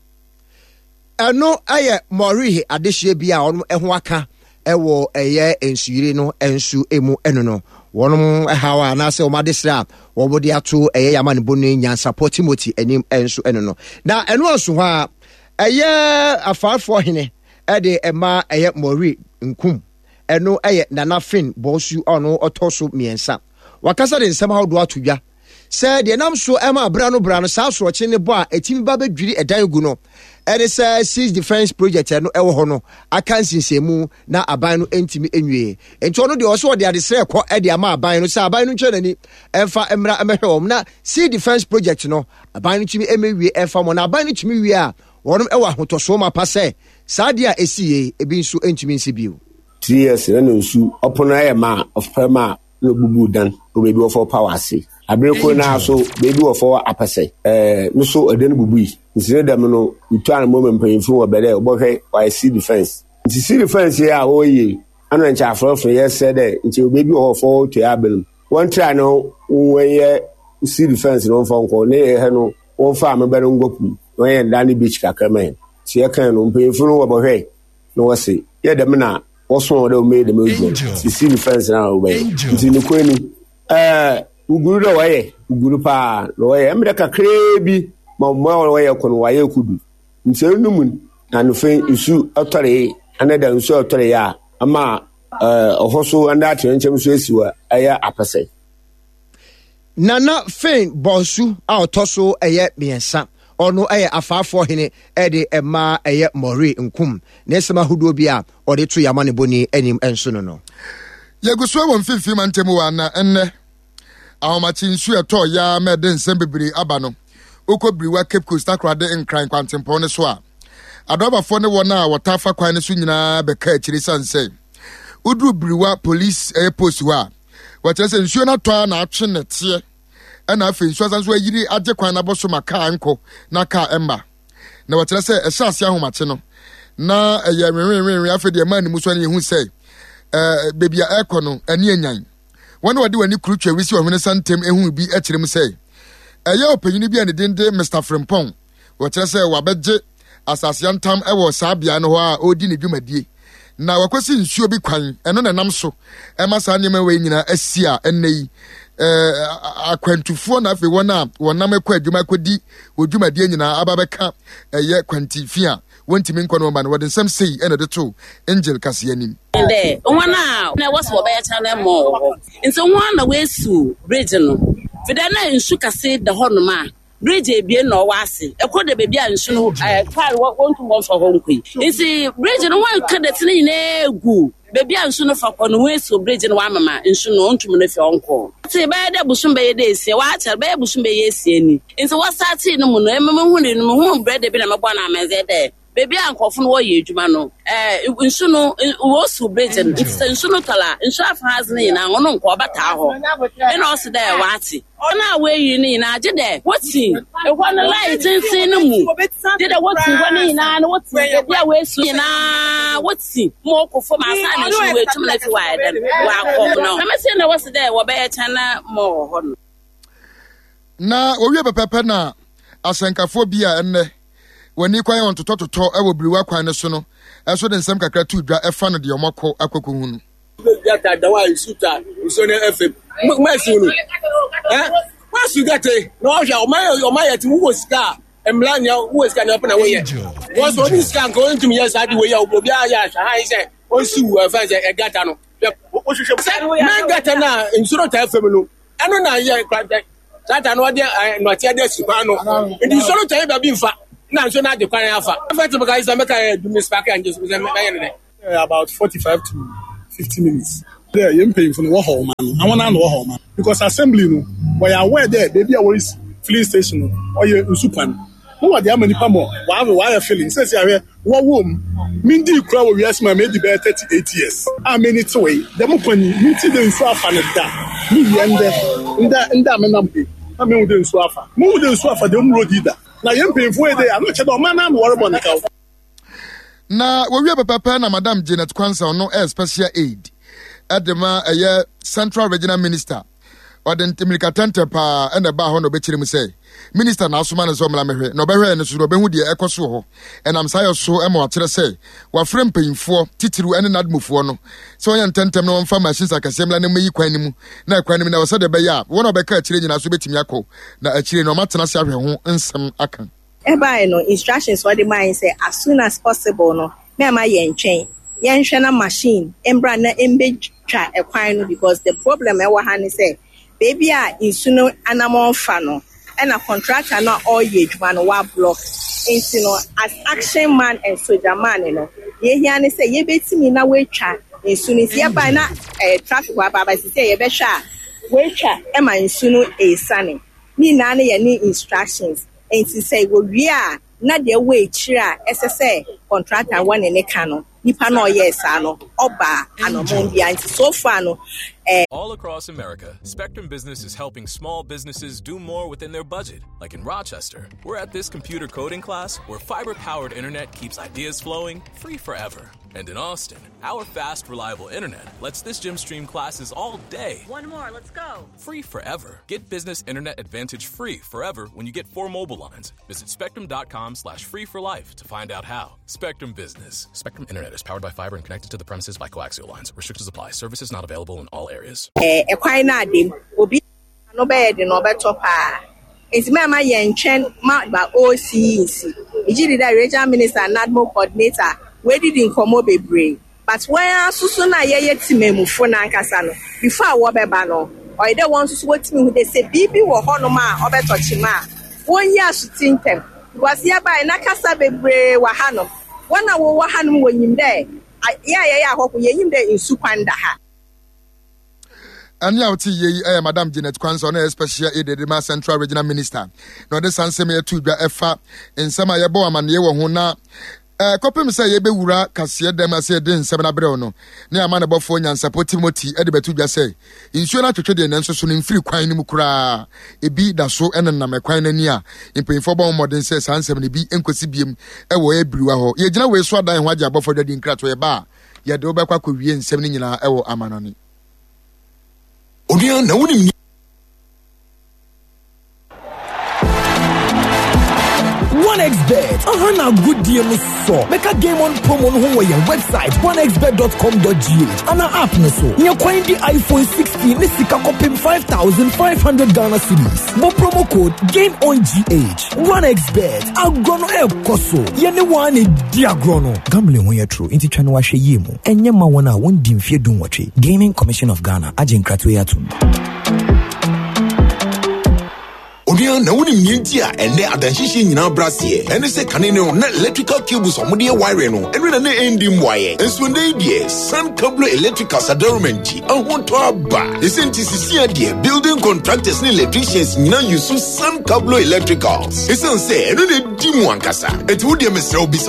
Ɛno yɛ Morihi adehyeɛ bi a wɔn ho aka wɔ ɛyɛ nsuyiri no nso mu ɛno no wɔn haw a anaasɛ wɔn adesrɛ a wɔn de ato ɛyɛ yamanebo ne nyansapɔ Timothy anim nso ɛno no na ɛno nso hɔ a ɛyɛ afaafoɔ hene ɛde ɛma ɛyɛ Mori nkum ɛno ɛyɛ Nana Finn Bɔsu ɔno ɔtɔ so mmiɛnsa wakasa de nsɛm ahodoɔ ato dwa sɛ deɛ ɛnam so ma bra no bra no saa asorɔkye ne bɔ a ɛtumi ba bɛdwiri ɛdan gu no ɛne sɛ Seas Defence Project ɛno ɛwɔ hɔ no aka nsinsɛnmu na aban no ntumi nwie nti ɔno deɛ ɔsɛ ɔde adesrɛ kɔ ɛde ama aban no sɛ aban no ntwa n'ani ɛmfa mmra mmɛhwɛ wɔn na Sea Defence Project no aban no tumi mmɛwie ɛmfa wɔn na aban no tumi wie a wɔn ɛwɔ ahotɔsoɔ mapa sɛ saa adeɛ a ɛsi yei ebi nso ntumi nsi bio. 3 years na ne nsu ɔpono ayɛ ma ɔfrɛ ma. na obubuu dan wɔ beebi wɔfrɛ hɔ Power ase. Aber kor no ara so, beebi wɔfrɛ hɔ Apɛsɛ, no so dan bubui. Ntsi ne dɛm no, wotu anamɔn ma mpanyimfo wɔ bɛ dɛ wɔbɔhwɛ wɔayɛ ceiling fence. Ntsi ceiling fence yi a wɔreyɛ yi, ana nkyɛ aforɔfo yɛserɛ dɛ nkyɛ beebi wɔ hɔ wɔfrɛ hɔ Otuei Aber mu, wɔntra na wɔnyɛ ceiling fence no wɔmfa nkɔ na yɛhɛ no wɔmfa ameba no ngɔ po mu na wɔnyɛ no dan beach kakra ma hɛn. Ntsi yɛkae no, mpanyimfo no wɔbɔhwɛe na wɔse, yɛ dɛm na wɔsoma wɔn dɛ wɔmmɛyɛ dɛm edwuma no, sisi no fɛnse no a wɔbɛyɛ. Ntsi nokwar ni, ɛɛ, woguru dɛ wɔyɛ, woguru paa na wɔyɛ. Mbrɛ kakraa bi ma mboa a wɔyɛ kɔ no wɔayɛ ekodu. Ntsi ɔno mu no, na anɔfa yi nsu tɔree, ana da nsu a ɔtɔree a ama ɛɛ ɔhɔ so ana atoyerɛnkyɛm so esi hɔ ɛyɛ apɛsɛ. Nana Fane Bonsu a ɔtɔ so ɛyɛ mmiɛnsa, ɔno ɛyɛ Afaafoɔ hene ɛde ɛma ɛyɛ Moree Nkum. Ne nsɛm ahodoɔ bi a ɔde to yɛn amanebɔni anim nso no no. Yɛgu so wɔ mfimfini mantam wa na ɛnnɛ ahomakye nsu ɛtɔɔ yaa ma ɛde nsɛm bebree aba no. Wokɔ Biriwa Cape Coast Takoradi Nkran kwantempɔn no so a, adɔbafoɔ ne wɔn a wɔtaa fa kwan no so nyinaa bɛka akyire sane sɛ woduru Biriwa police ɛyɛ post hɔ a wɔkyerɛ sɛ nsuo no atɔ a na atwe nɛteɛ ɛna afei nsuo asan so ayiri agye kwan no abɔ so ma kaa nkɔ na kaa ɛmma na wɔkyerɛ sɛ ɛhyɛ ase ahomakye no na ɛyɛ nwenwenwenwe afei deɛ ɛmaa ne mu so no yɛhu sɛ ɛɛ beebi a ɛrekɔ no ani anyan wɔn a wɔde wɔn ani kuru twɛ wisi ɔhwene santam ehu bi kyerɛ mu sɛ ɛyɛ ɔpanyin bi a ne din de Mr. Frimpong Wɔkyerɛ sɛ wabɛgye asase yantam wɔ saa beae no hɔ a ɔredi ne dwumadie. Na wakɔsi nsuo bi kwan, ɛno na ɛnam so ɛma saa nneɛma wei nyinaa asi a ɛnnɛ yi akwantufoɔ na afei wɔn a wɔnam kɔ adwuma kɔdi wɔ dwumadie nyinaa aba bɛka ɛyɛ kwantifi a wɔntumi nkɔ no wɔn ba no wɔde nsɛm sei ɛna ɛde to Angel kaseɛ anim. Dɛ hɔn a na wɔse wɔbɛyɛ channel mall wɔ hɔ ntsi hɔn na woesiw bridge no fidɛ na nsu kɛse da hɔnom a Bridge ebien na ɔwɔ ase. Kor da beebi a nsu no kaar wonntum wɔmmfa hɔ nnkɔ yi. Ntsi bridge no wɔaka dɛtse no nyina egu beebi a nsu no fa kɔ no, woesiw bridge no wɔamema nsu no onntum no fi hɔ nnkɔ. Ntsi bɛyɛ dɛ bosoom bɛyɛ dɛ esia, wɔakyɛr bɛyɛ bosoom bɛyɛ esia ni. Ntsi wɔstartee no mu no, emi muhunii no, muhun brɛda bi na mobɔɔ no amandzɛɛ dɛ beebi a nkorɔfo no wɔreyɛ edwuma no, nsu no wosiw bridge no, ntsi sɛ nsu no tɔr a, nsu afa ha dze no nyina ɔno nnkɔ, ɔbɛtaa hɔ. Nna ɔse dɛ ɔatse. Hɔn a woeyi no nyina gyedɛ wotsi hɔ no line tsentsen no mu, gyedɛ wotsi hɔ no nyina na wotsi beebi a woesi nyina wotsi ma ɔkɔ famu ansaana nsu no woetum no efi hɔ ayɛ dɛn wɔakɔ no. Dɛm ntsi na wɔse dɛ wɔbɛyɛ kyɛn ma wɔ hɔ no. Na wɔwie pɛpɛɛpɛ na asɛnkafoɔ bi a ɛnnɛ wɔn ani kwan wɔn totɔtotɔ wɔ biriwa kwan no so no nso de nsɛm kakra too dwa ɛfa no deɛ wɔakɔ akɔkɔhu no. Gata da hɔ a nsu ta nsuo no ɛfam mɛsi no ɛ wasu gata yi na wahwɛ ɔma yɛ ɔma yɛ ti wowɔ sika a mmla nea wowɔ sika nea ɔpɛ na woyɛ wɔn so ɔne sika nka ɔntumi yɛ saa de wei a obi ayɛ ahwɛ ha yi sɛ ɔnsi wu ɛfɛn sɛ ɛgata no wohwehwɛ sɛ mɛ gata no a nsuo no ta ɛfam no ɛno na yɛ nkrantɛ saa ta no ɔde nnɔteɛ de asi kwan no nti nsuo no ta yi baabi nfa na nsuo no agye kwan afa ɛfɛ te bɛka yi sɛ mɛka yɛ dum ne spark angye so sɛ mɛyɛ no dɛ About 45 to 50 minutes. Dɛ yɛn mpanyimfo no wɔhaw ɔman no, na hɔn ara na wɔhaw ɔman no because assembly no wɔyɛ aware dɛ beebi a worisi filling station no ɔyɛ nsu kwan na wɔdze ama nyimpa ma wɔawe wɔayɛ filling. Sesei ahwɛ wɔwɔ mu, minndii kura wɔ wiase mu a medi bɛyɛ 38 years a m'enyi tsewee dɛm kwan yi menntse dɛ nsu afa no da, muwie ndɛ ndɛ ndɛ a menam ha yi na mehu dɛ nsu afa. Munnhu dɛ nsu afa dɛm road yi da na hɛn mpanyimfo yi de ano kyerɛ dɛ ɔman no ara na wɔrobɔ no kaw. Na wɔwie pɛpɛpɛ na Madam Janet Kwansa ɔno ɛyɛ special aid ɛde ma ɛyɛ Central Regional Minister ɔde mmirika tɛntɛ paa ɛna ɛbaa hɔ na ɔbɛkyerɛ mu sɛ minister na asoma no sɛ ɔmmra mɛhwɛ na ɔbɛhwɛ no so na ɔbɛhu deɛ ɛkɔ so wɔ hɔ ɛnam saa yɛ so ma wakyerɛ sɛ wafrɛ mpanyinfoɔ titiriw ɛne nadmofoɔ no sɛ wɔnyɛ ntɛntɛm na wɔmfa machines akɛseɛ mmra na mmɛyi kwan no mu na ɛkwan no mu na ɛwɔ sɛdeɛ ɛbɛyɛ a wɔn a wɔbɛka akyire nyinaa so bɛtumi akɔ na akyire no wɔatena ase ahwɛ ho nsɛm aka. Ɛbae no, instructions a ɔde mae ne sɛ as soon as possible no, mɛmma yɛntwɛn, yɛnhwɛ na machine mbra na mbetwa kwan no because the problem a ɛwɔ ha ne sɛ, baabi a nsu no anamɔn fa no, ɛna contractor no a ɔreyɛ adwuma no wa block. Nti no, as action man and soldier man no, deɛ ehia ne sɛ yɛbɛtumi na wɔatwa nsu no. Nti yɛbae na eh, traffic wɔ aba, but sisi a yɛbɛhwɛ a, wɔatwa ma nsu no esiane. Ne nyinaa no yɛ ne instructions. Enti sɛ wɔwie a, na deɛ ɛwɔ akyire a ɛsɛ sɛ contractor wɔ ne ne ka no, nipa no a ɔyɛɛ saa no, ɔba anɔmɔn biara. Nti so far no, Eh. All across America, Spectrum Business is helping small businesses do more within their budget. Like in Rochester, we're at this computer coding class where fiber powered internet keeps ideas flowing free forever. And in Austin, our fast, reliable internet lets this gym stream classes all day. One more, let's go. Free forever. Get business internet advantage free forever when you get four mobile lines. Visit spectrum.com slash free for life to find out how. Spectrum Business. Spectrum Internet is powered by fiber and connected to the premises by coaxial lines. Restrictions apply. Services not available in all areas. Eh, ɛkwan no adem obi ano bɛyɛ den ɔbɛtɔ paa nti mɛma yɛntwɛn ma ba ɔresi yi nsi megye di dɛ regional minister nadmo coordinator wɔadidi nkɔmmɔ bebree But wɔn ara nso so no a yɛyɛ temamufo no ankasa no, before a wɔbɛba no, ɔyɛ dɛ wɔn nso so wotumi hu dɛ sɛ biribi wɔ hɔnom a ɔbɛtɔ kyema a, wonyi asotse ntsɛm. Because yɛbae na kasa beberee wɔ hanom. Hɔn a wɔwɔ hanom wonyim dɛ yɛ a yɛyɛ ahɔho, yenyim dɛ nsu kwan da ha. Ɛnne a wote yie yi yɛ Madam Janet Kwanzaa, ɔno yɛ Special Aide de ma Central Regional Minister, na ɔde saa nsɛm yi ato dwa ɛfa nsɛm a yɛbɔ amanneɛ wɔ ho na Kɔpem sɛ yɛbɛwura kaseɛ dɛm ase de nsɛm no abrɛ wo no, ne amanebɔfoɔ nyansapɔ Timothy de bɛto dwa sɛ, nsuo no atwetwe deɛ nanso so no mfiri kwan no mu koraa, ebi da so nenam ɛkwan no ani a mpanyinfoɔ bɔ ho mmɔden sɛ saa nsɛm no bi nkɔsi biem wɔ abiriwa hɔ. Yɛgyina wei so adan ho agye abɔfoɔ adwadie nkratoɔ yɛba a yɛde wo bɛkɔ akɔwie nsɛm no nyinaa wɔ amanɔne. Onua, na wonim 1xBet aha na agodie no sɔ bɛka game on promo no ho wɔ yɛn website 1xbet.com.gh ana app no so nyɛ kwan di iPhone 16 ne sika kɔpem 5500 Ghana cedis bɔ promo code game on GH 1xBet agorɔ no ɛrekɔ so yɛne wɔn na ɛdi agorɔ no gambling ho yɛ toro nti twa no ahwɛ yie mu ɛnyɛ ma wɔn a wɔndi mfeɛ 18 Gaming Commission of Ghana agye nkratoɔ yi atom. Onua, na wonim nea nti a ɛnnɛ adanhyehyɛ nyinaa brɛ aseɛ? Ɛne sɛ kane no na electrical cables a wɔde yɛ wiring no, ɛno na na ɛndi mmuaeɛ. Nso ɛnnɛ yi deɛ, Sun Cablo Electricals adaroma nti, ahotɔ aba. Ɛsɛ nti sisia deɛ, building contractors ne electricians nyinaa use Sun Cablo Electricals. Ɛsiane sɛ ɛno na ɛdi mu ankasa. Enti wo deɛ mesrɛ wo bisa wo.